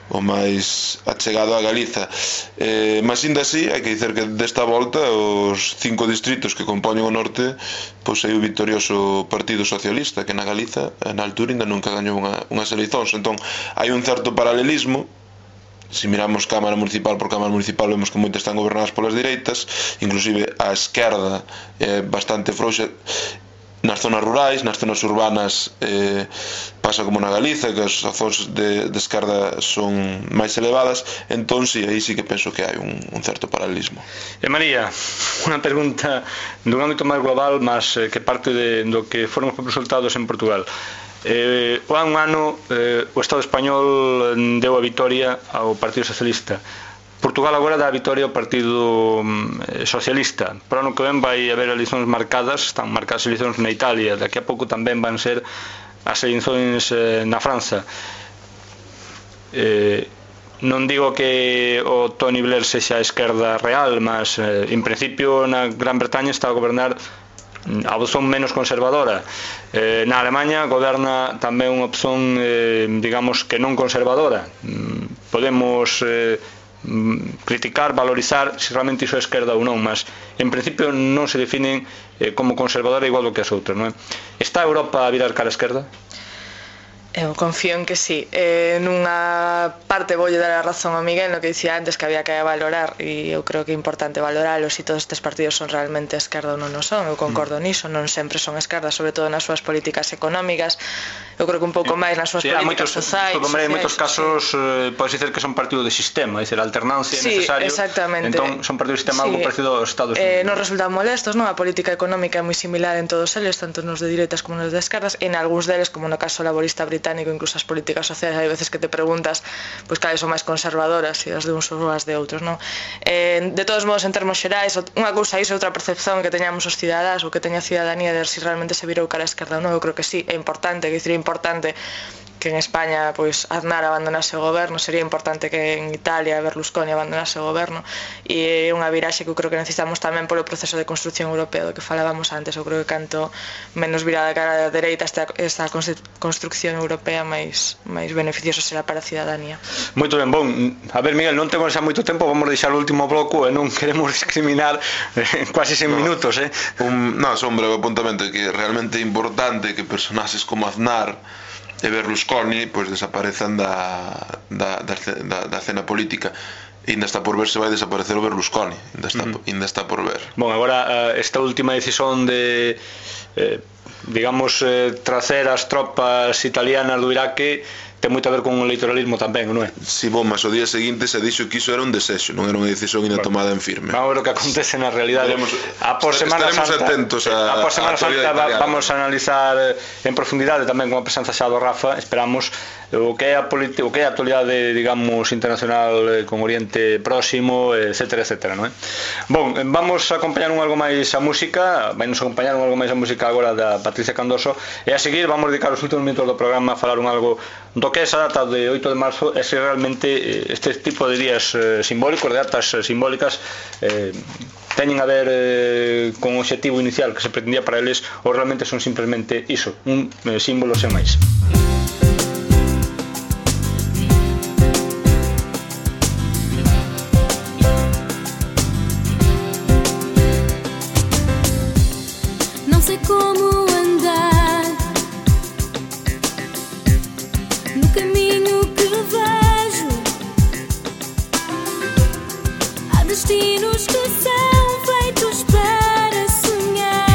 o máis achegado a Galiza. Eh, mas ainda así, hai que dicer que desta volta os cinco distritos que compoñen o norte pois é o victorioso Partido Socialista, que na Galiza na altura ainda nunca gañou unha, unhas eleicións. Entón hai un certo paralelismo. Se miramos Cámara Municipal por Cámara Municipal, vemos que moitas están gobernadas polas direitas, inclusive a esquerda é bastante frouxa nas zonas rurais. Nas zonas urbanas eh, pasa como na Galiza, que as zóns de, de esquerda son máis elevadas. Entón, sí, aí sí que penso que hai un, un certo paralelismo. E María, unha pregunta dun ámbito máis global, mas eh, que parte de, do que foron os resultados en Portugal. Eh, o un ano eh, o Estado español deu a vitoria ao Partido Socialista. Portugal agora dá a vitoria ao Partido eh, Socialista. Pero ano que ven vai haber eleicións marcadas, están marcadas eleicións na Italia, daqui a pouco tamén van ser as eleicións eh, na França. Eh, non digo que o Tony Blair sexa a esquerda real, mas eh, en principio na Gran Bretaña está a gobernar a opción menos conservadora. Eh, na Alemanha goberna tamén unha opción eh, digamos que non conservadora. Mm, podemos eh, criticar, valorizar se realmente iso é esquerda ou non, mas en principio non se definen eh, como conservadora igual do que as outras, non é? Está a Europa a virar cara a esquerda? Eu confío en que sí. Eh, nunha parte voulle dar a razón a Miguel no que dicía antes que había que valorar, e eu creo que é importante valoralos, e todos estes partidos son realmente esquerda ou non o son. Eu concordo mm. niso, non sempre son esquerda, sobre todo nas súas políticas económicas. Eu creo que un pouco máis nas súas sí, políticas sociais. En moitos casos eh, podes dicer que son partido de sistema, dicer, a alternancia sí, é necesario. Exactamente. Entón son partido de sistema sí. algo parecido aos Estados Eh, Unidos. non resultan molestos, non? A política económica é moi similar en todos eles, tanto nos de direitas como nos de esquerdas, e en algúns deles, como no caso laborista británico, incluso as políticas sociais, hai veces que te preguntas pois cales son máis conservadoras, se as de uns ou as de outros, non? Eh, de todos modos, en termos xerais, unha cousa iso, outra percepción que teñamos os cidadás ou que teña a cidadanía de ver se realmente se virou cara a esquerda ou non. Eu creo que sí, é importante, que é importante que en España pois Aznar abandonase o goberno, sería importante que en Italia Berlusconi abandonase o goberno, e é unha viraxe que eu creo que necesitamos tamén polo proceso de construcción europea do que falábamos antes. Eu creo que canto menos virada cara a dereita esta, esta construcción europea, máis, máis beneficioso será para a cidadanía. Moito ben, bon, a ver Miguel, non temos xa moito tempo, vamos deixar o último bloco e non queremos discriminar eh, quase cen no, minutos eh? un, non, son un breve apuntamento que realmente é importante que personaxes como Aznar e Berlusconi pois desaparezan da, da, da, da, da cena política. E ainda está por ver se vai desaparecer o Berlusconi, ainda está, uh -huh. ainda está por ver. Bon, agora esta última decisión de eh, digamos eh, tracer as tropas italianas do Iraque ten moito a ver con o electoralismo tamén, non é? Si, bom, mas o día seguinte se dixo que iso era un desexo, non era unha decisión ainda bueno, tomada en firme. Vamos a ver o que acontece na realidade. Estaremos, a por Semana Santa, atentos a, a por Semana a Santa va, vamos a analizar en profundidade tamén con a presenza xa do Rafa, esperamos o que é a política, o que é a actualidade, digamos, internacional con Oriente Próximo, etcétera, etcétera, non é? Bon, vamos a acompañar un algo máis a música, vai nos acompañar un algo máis a música agora da Patricia Candoso, e a seguir vamos dedicar os últimos minutos do programa a falar un algo do que é esa data de oito de marzo, e se realmente este tipo de días eh, simbólicos, de datas eh, simbólicas eh, teñen a ver eh, con o obxectivo inicial que se pretendía para eles, ou realmente son simplemente iso, un eh, símbolo sen máis. Não sei como andar no caminho que vejo. Há destinos que são feitos para sonhar.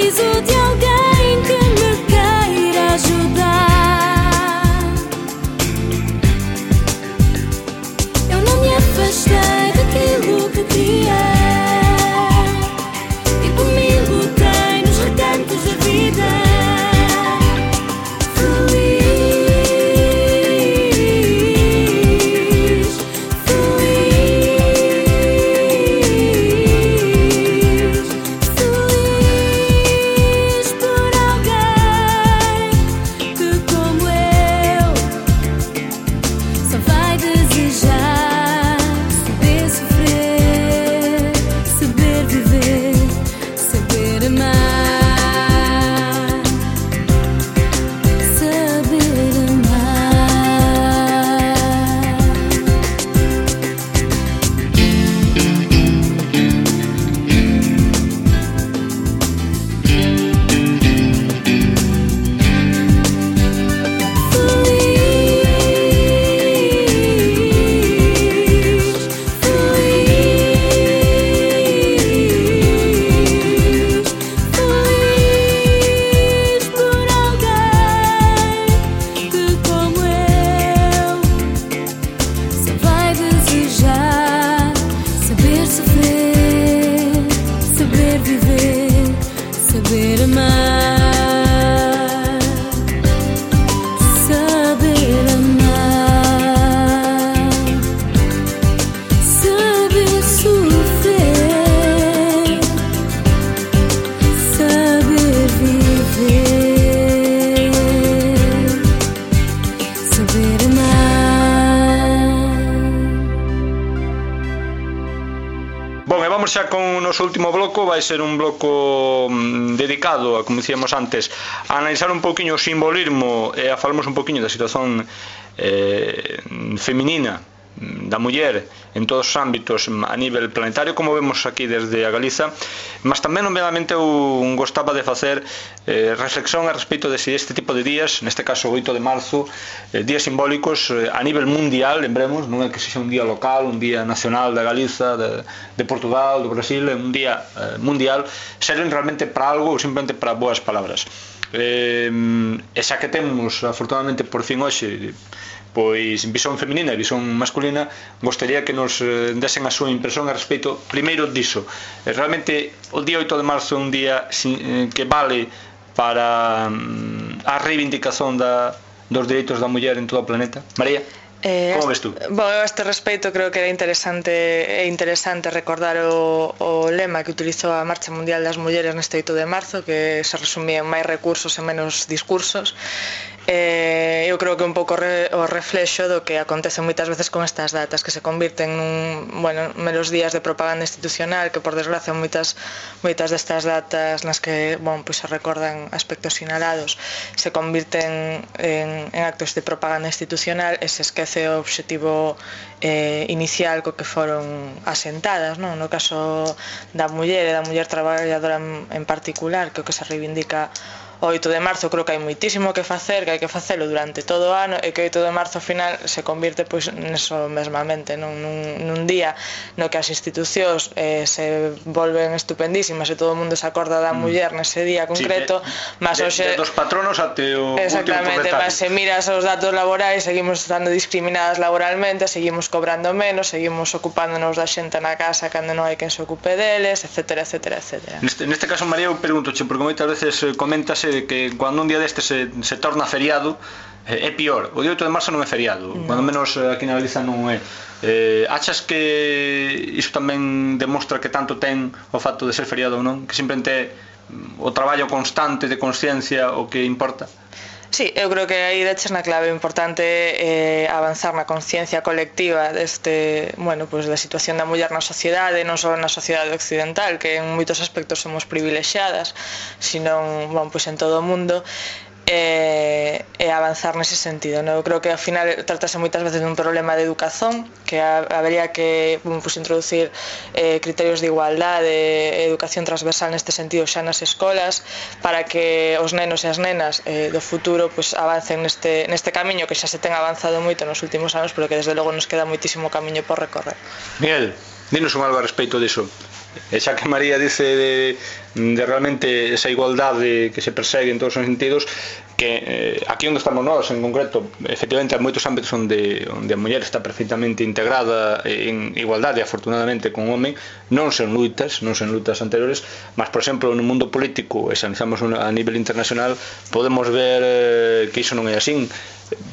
Preciso de alguém que me queira ajudar. Eu não me afastei daquilo que queria e por mim lutei nos recantos da vida. Xa con o noso último bloco vai ser un bloco dedicado a, como dicíamos antes, a analizar un poquinho o simbolismo e a falarmos un poquinho da situación eh, feminina da muller en todos os ámbitos a nivel planetario, como vemos aquí desde a Galiza, mas tamén nomeadamente eu gostaba de facer eh, reflexión a respecto de si este tipo de días, neste caso o oito de marzo, eh, días simbólicos eh, a nivel mundial, lembremos, non é que sexa un día local, un día nacional da Galiza, de, de Portugal, do Brasil, é un día eh, mundial, serven realmente para algo ou simplemente para boas palabras. Eh, e xa que temos, afortunadamente por fin hoxe, pois visión feminina e visión masculina, gostaría que nos desen a súa impresión a respecto primeiro diso. Realmente o día oito de marzo é un día que vale para a reivindicación da, dos dereitos da muller en todo o planeta. María? Eh, Como ves tú? Bueno, a este respecto creo que era interesante é interesante recordar o, o lema que utilizou a Marcha Mundial das Mulleres neste oito de marzo, que se resumía en máis recursos e menos discursos. Eh, eu creo que un pouco re, o reflexo do que acontece moitas veces con estas datas, que se convirten nun, bueno, menos días de propaganda institucional, que por desgracia moitas moitas destas datas nas que, bueno, pues se recordan aspectos sinalados se convirten en, en actos de propaganda institucional e se esquece o obxectivo eh, inicial co que foron asentadas, non? No caso da muller e da muller traballadora en, en particular, que o que se reivindica o oito de marzo, creo que hai moitísimo que facer, que hai que facelo durante todo o ano e que o oito de marzo ao final se convirte pois neso mesmamente, non? Nun, nun día no que as institucións eh, se volven estupendísimas e todo o mundo se acorda da muller nese día concreto, sí, de, mas de, hoxe de dos patronos até o exactamente, último mas se miras os datos laborais, seguimos estando discriminadas laboralmente, seguimos cobrando menos, seguimos ocupándonos da xente na casa cando non hai quen se ocupe deles, etcétera, etcétera, etcétera. Neste, neste caso, María, eu pregúntoche, porque moitas veces comentas que cando un día deste se, se torna feriado é pior. O día oito de marzo non é feriado, no. Cando menos aquí na Galiza non é. Eh, achas que iso tamén demostra que tanto ten o facto de ser feriado ou non? Que simplemente é o traballo constante de consciencia o que importa? Sí, eu creo que aí deches na clave importante eh, avanzar na conciencia colectiva deste, bueno, pues, da situación da muller na sociedade, non só na sociedade occidental, que en moitos aspectos somos privilexiadas, senón, bueno, pues, en todo o mundo, e, e avanzar nese sentido, non? Eu creo que ao final tratase moitas veces dun problema de educación, que habería que, pues, introducir eh, criterios de igualdade e educación transversal neste sentido xa nas escolas, para que os nenos e as nenas eh, do futuro pues, avancen neste, neste camiño que xa se ten avanzado moito nos últimos anos, pero que desde logo nos queda moitísimo camiño por recorrer. Miguel, dinos un algo a respecto diso. E xa que María dice de, de realmente esa igualdade que se persegue en todos os sentidos, que eh, aquí onde estamos nós en concreto, efectivamente hai moitos ámbitos onde, onde a muller está perfectamente integrada en igualdade, afortunadamente, con o home, non sen lutas, non sen lutas anteriores, mas, por exemplo, no mundo político, e se analizamos a nivel internacional, podemos ver eh, que iso non é así.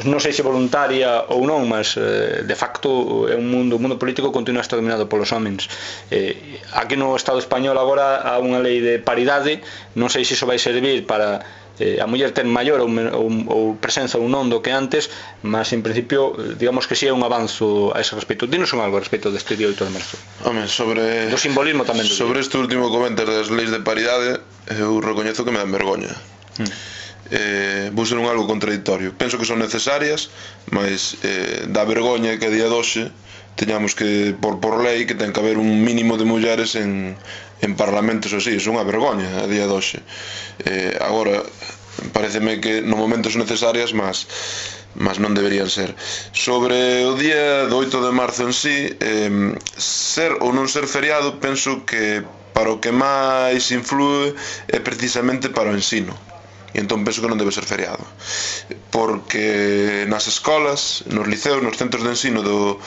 Non sei se voluntaria ou non, mas eh, de facto é un mundo, o mundo político continúa a estar dominado polos homens. Eh, aquí no Estado español agora há unha lei de paridade, non sei se iso vai servir para eh, a muller ten maior ou, ou, ou presenza ou non do que antes, mas en principio digamos que si sí é un avanzo a ese respecto. Dinos un algo a respecto deste día oito de marzo. Home, sobre do simbolismo tamén do sobre este último comentar das leis de paridade, eu recoñezo que me dan vergoña. Hmm. Eh, vou ser un algo contradictorio. Penso que son necesarias, mas eh, dá vergoña que a día de hoxe teñamos que, por, por lei, que ten que haber un mínimo de mulleres en, en parlamentos así. É unha vergoña a día de hoxe. Eh, agora, pareceme que no momento son necesarias, mas mas non deberían ser. Sobre o día do oito de marzo en sí, eh, ser ou non ser feriado, penso que para o que máis influe é precisamente para o ensino. E entón penso que non debe ser feriado, porque nas escolas, nos liceos, nos centros de ensino do,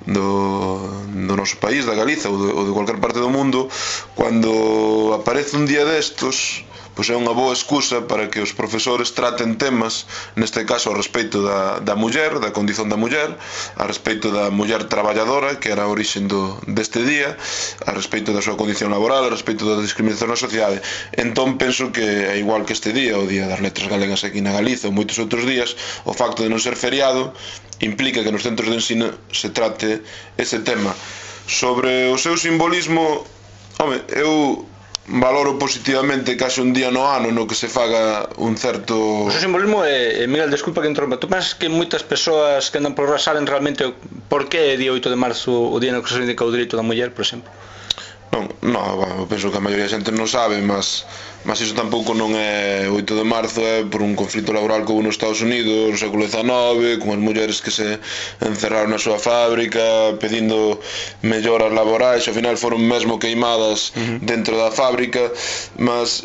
do, do noso país, da Galiza ou de, ou de cualquier parte do mundo, cando aparece un día destos, pois é unha boa excusa para que os profesores traten temas, neste caso ao respecto da, da muller, da condición da muller, a respecto da muller traballadora, que era a orixen do, deste día, a respecto da súa condición laboral, a respecto da discriminación na sociedade. Entón penso que é igual que este día, o Día das Letras Galegas aquí na Galiza ou moitos outros días, o facto de non ser feriado implica que nos centros de ensino se trate ese tema. Sobre o seu simbolismo, home, eu valoro positivamente case un día no ano no que se faga un certo... O seu simbolismo é, Miguel, desculpa que entrompa, tú pensas que moitas persoas que andan por aí saben realmente por que é día oito de marzo o día no que se reivindica o dereito da muller, por exemplo? Non, non, bueno, penso que a maioría da xente non sabe, mas mas iso tampouco non é oito de marzo, é por un conflito laboral que houve nos Estados Unidos no século dezanove, con as mulleres que se encerraron na súa fábrica pedindo melloras laborais, ao final foron mesmo queimadas dentro da fábrica. Mas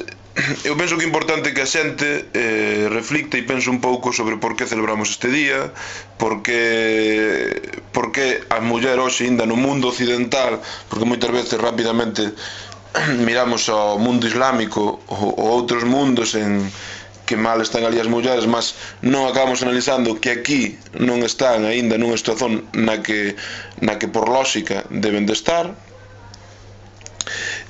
eu penso que é importante que a xente eh, reflicte e pense un pouco sobre por que celebramos este día, por que, por que a muller hoxe ainda no mundo occidental, porque moitas veces rapidamente miramos ao mundo islámico ou, ou outros mundos en que mal están ali as mulleres, mas non acabamos analizando que aquí non están aínda nunha situación na que, na que por lógica deben de estar.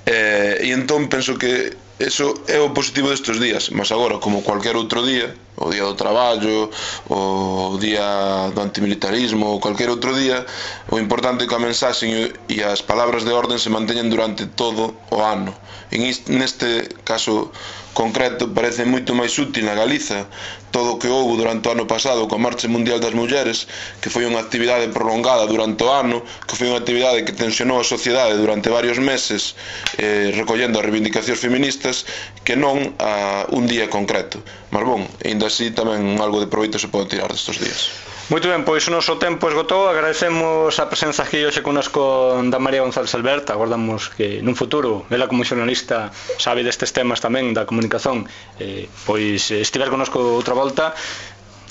Eh, e entón penso que eso é o positivo destes días, mas agora, como cualquier outro día, o día do traballo, o día do antimilitarismo, ou cualquier outro día, o importante é que a mensaxe e as palabras de orden se manteñen durante todo o ano. En neste caso concreto parece moito máis útil na Galiza todo o que houve durante o ano pasado coa Marcha Mundial das Mulleres, que foi unha actividade prolongada durante o ano, que foi unha actividade que tensionou a sociedade durante varios meses, eh, recollendo as reivindicacións feministas, que non a un día concreto. Mas bon, ainda así tamén algo de proveito se pode tirar destes días. Moito ben, pois o noso tempo esgotou. Agradecemos a presenza aquí hoxe connosco da María González Alberta. Agardamos que nun futuro, ela como xornalista sabe destes temas tamén da comunicación, eh, pois estiver connosco outra volta.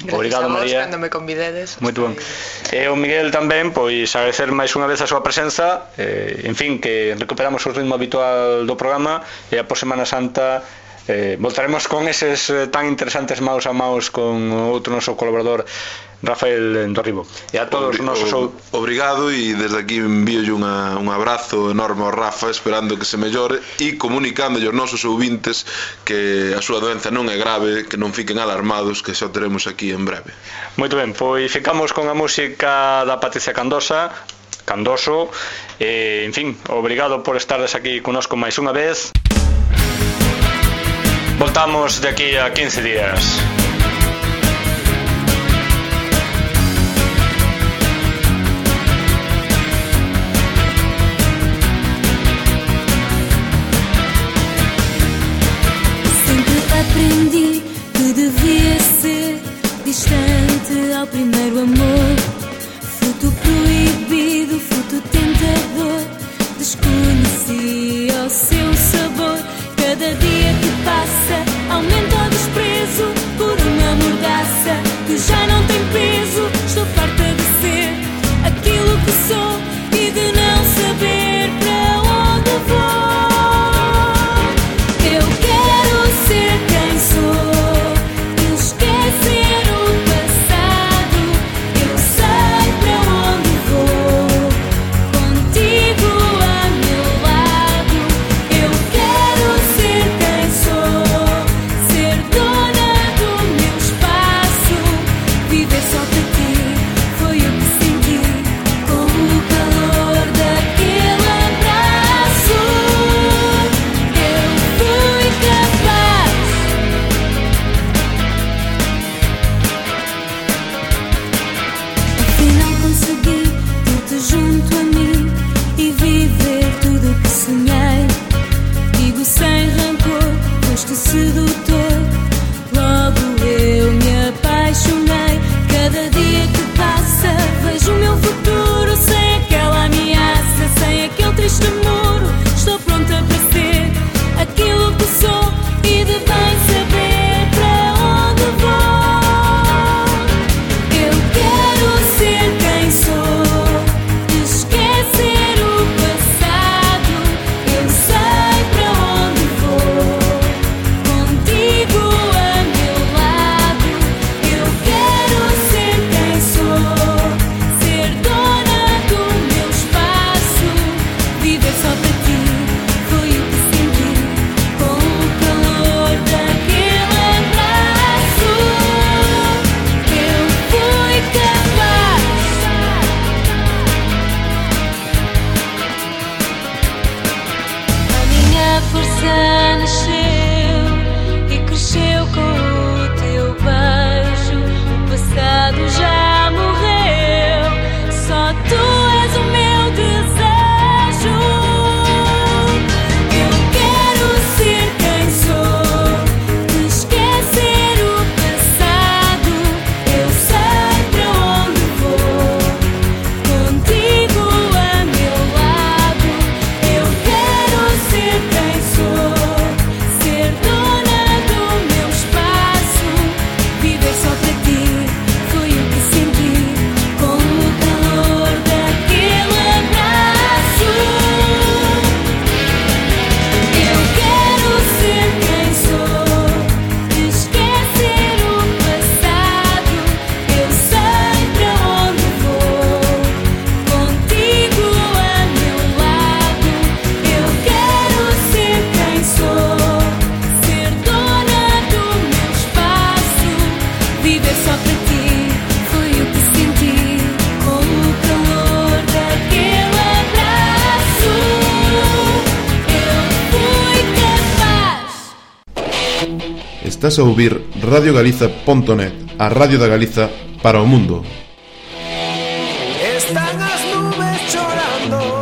Gracias. Obrigado, a vos, María, cando me convidedes. Moito ben. E o Miguel tamén, pois agradecer máis unha vez a súa presenza, eh, en fin, que recuperamos o ritmo habitual do programa e a por Semana Santa eh, voltaremos con eses eh, tan interesantes maus a maus con outro noso colaborador Rafael Dorribo. E a todos os nosos... Obrigado, e desde aquí envíolle unha, un abrazo enorme ao Rafa, esperando que se mellore e comunicándolle aos nosos ouvintes que a súa doenza non é grave, que non fiquen alarmados, que xa o teremos aquí en breve. Moito ben, pois ficamos con a música da Patricia Candosa, Candoso, e, en fin, obrigado por estardes aquí connosco máis unha vez. Voltamos de aquí a quince días. Aprendi que devia ser distante ao primeiro amor, fruto proibido, fruto tentador, desconhecido. rosto sedutor. Logo eu me apaixonei. Cada dia que passa vejo o meu futuro. Sem aquela ameaça, sem aquele triste muro. Estou pronta para ser aquilo que sou e de bem saber para onde vou. Eu quero ser quem sou, esquecer o passado. Eu sei para onde vou, contigo a meu lado. Eu quero ser quem sou, ser dona do meu espaço. Viver só para ti foi o que senti com o calor daquele abraço. Eu fui capaz. A minha força nasceu e cresceu com o teu beijo. O passado já morreu, só tu és o meu desejo. Eu quero ser quem sou, esquecer o passado. Eu sei para onde vou, contigo a meu lado. Eu quero ser quem sou, ser dona do meu espaço. Viver só para ti foi o que senti com o calor daquele abraço. Eu quero ser quem sou, esquecer o passado. Eu sei para onde vou, contigo a meu lado. Eu quero ser quem sou, ser dona do meu espaço. Viver só para ti foi o que senti com o calor daquele abraço. Eu fui capaz. Estás a ouvir radio galiza punto net, a radio da Galiza para o mundo. Están as nubes chorando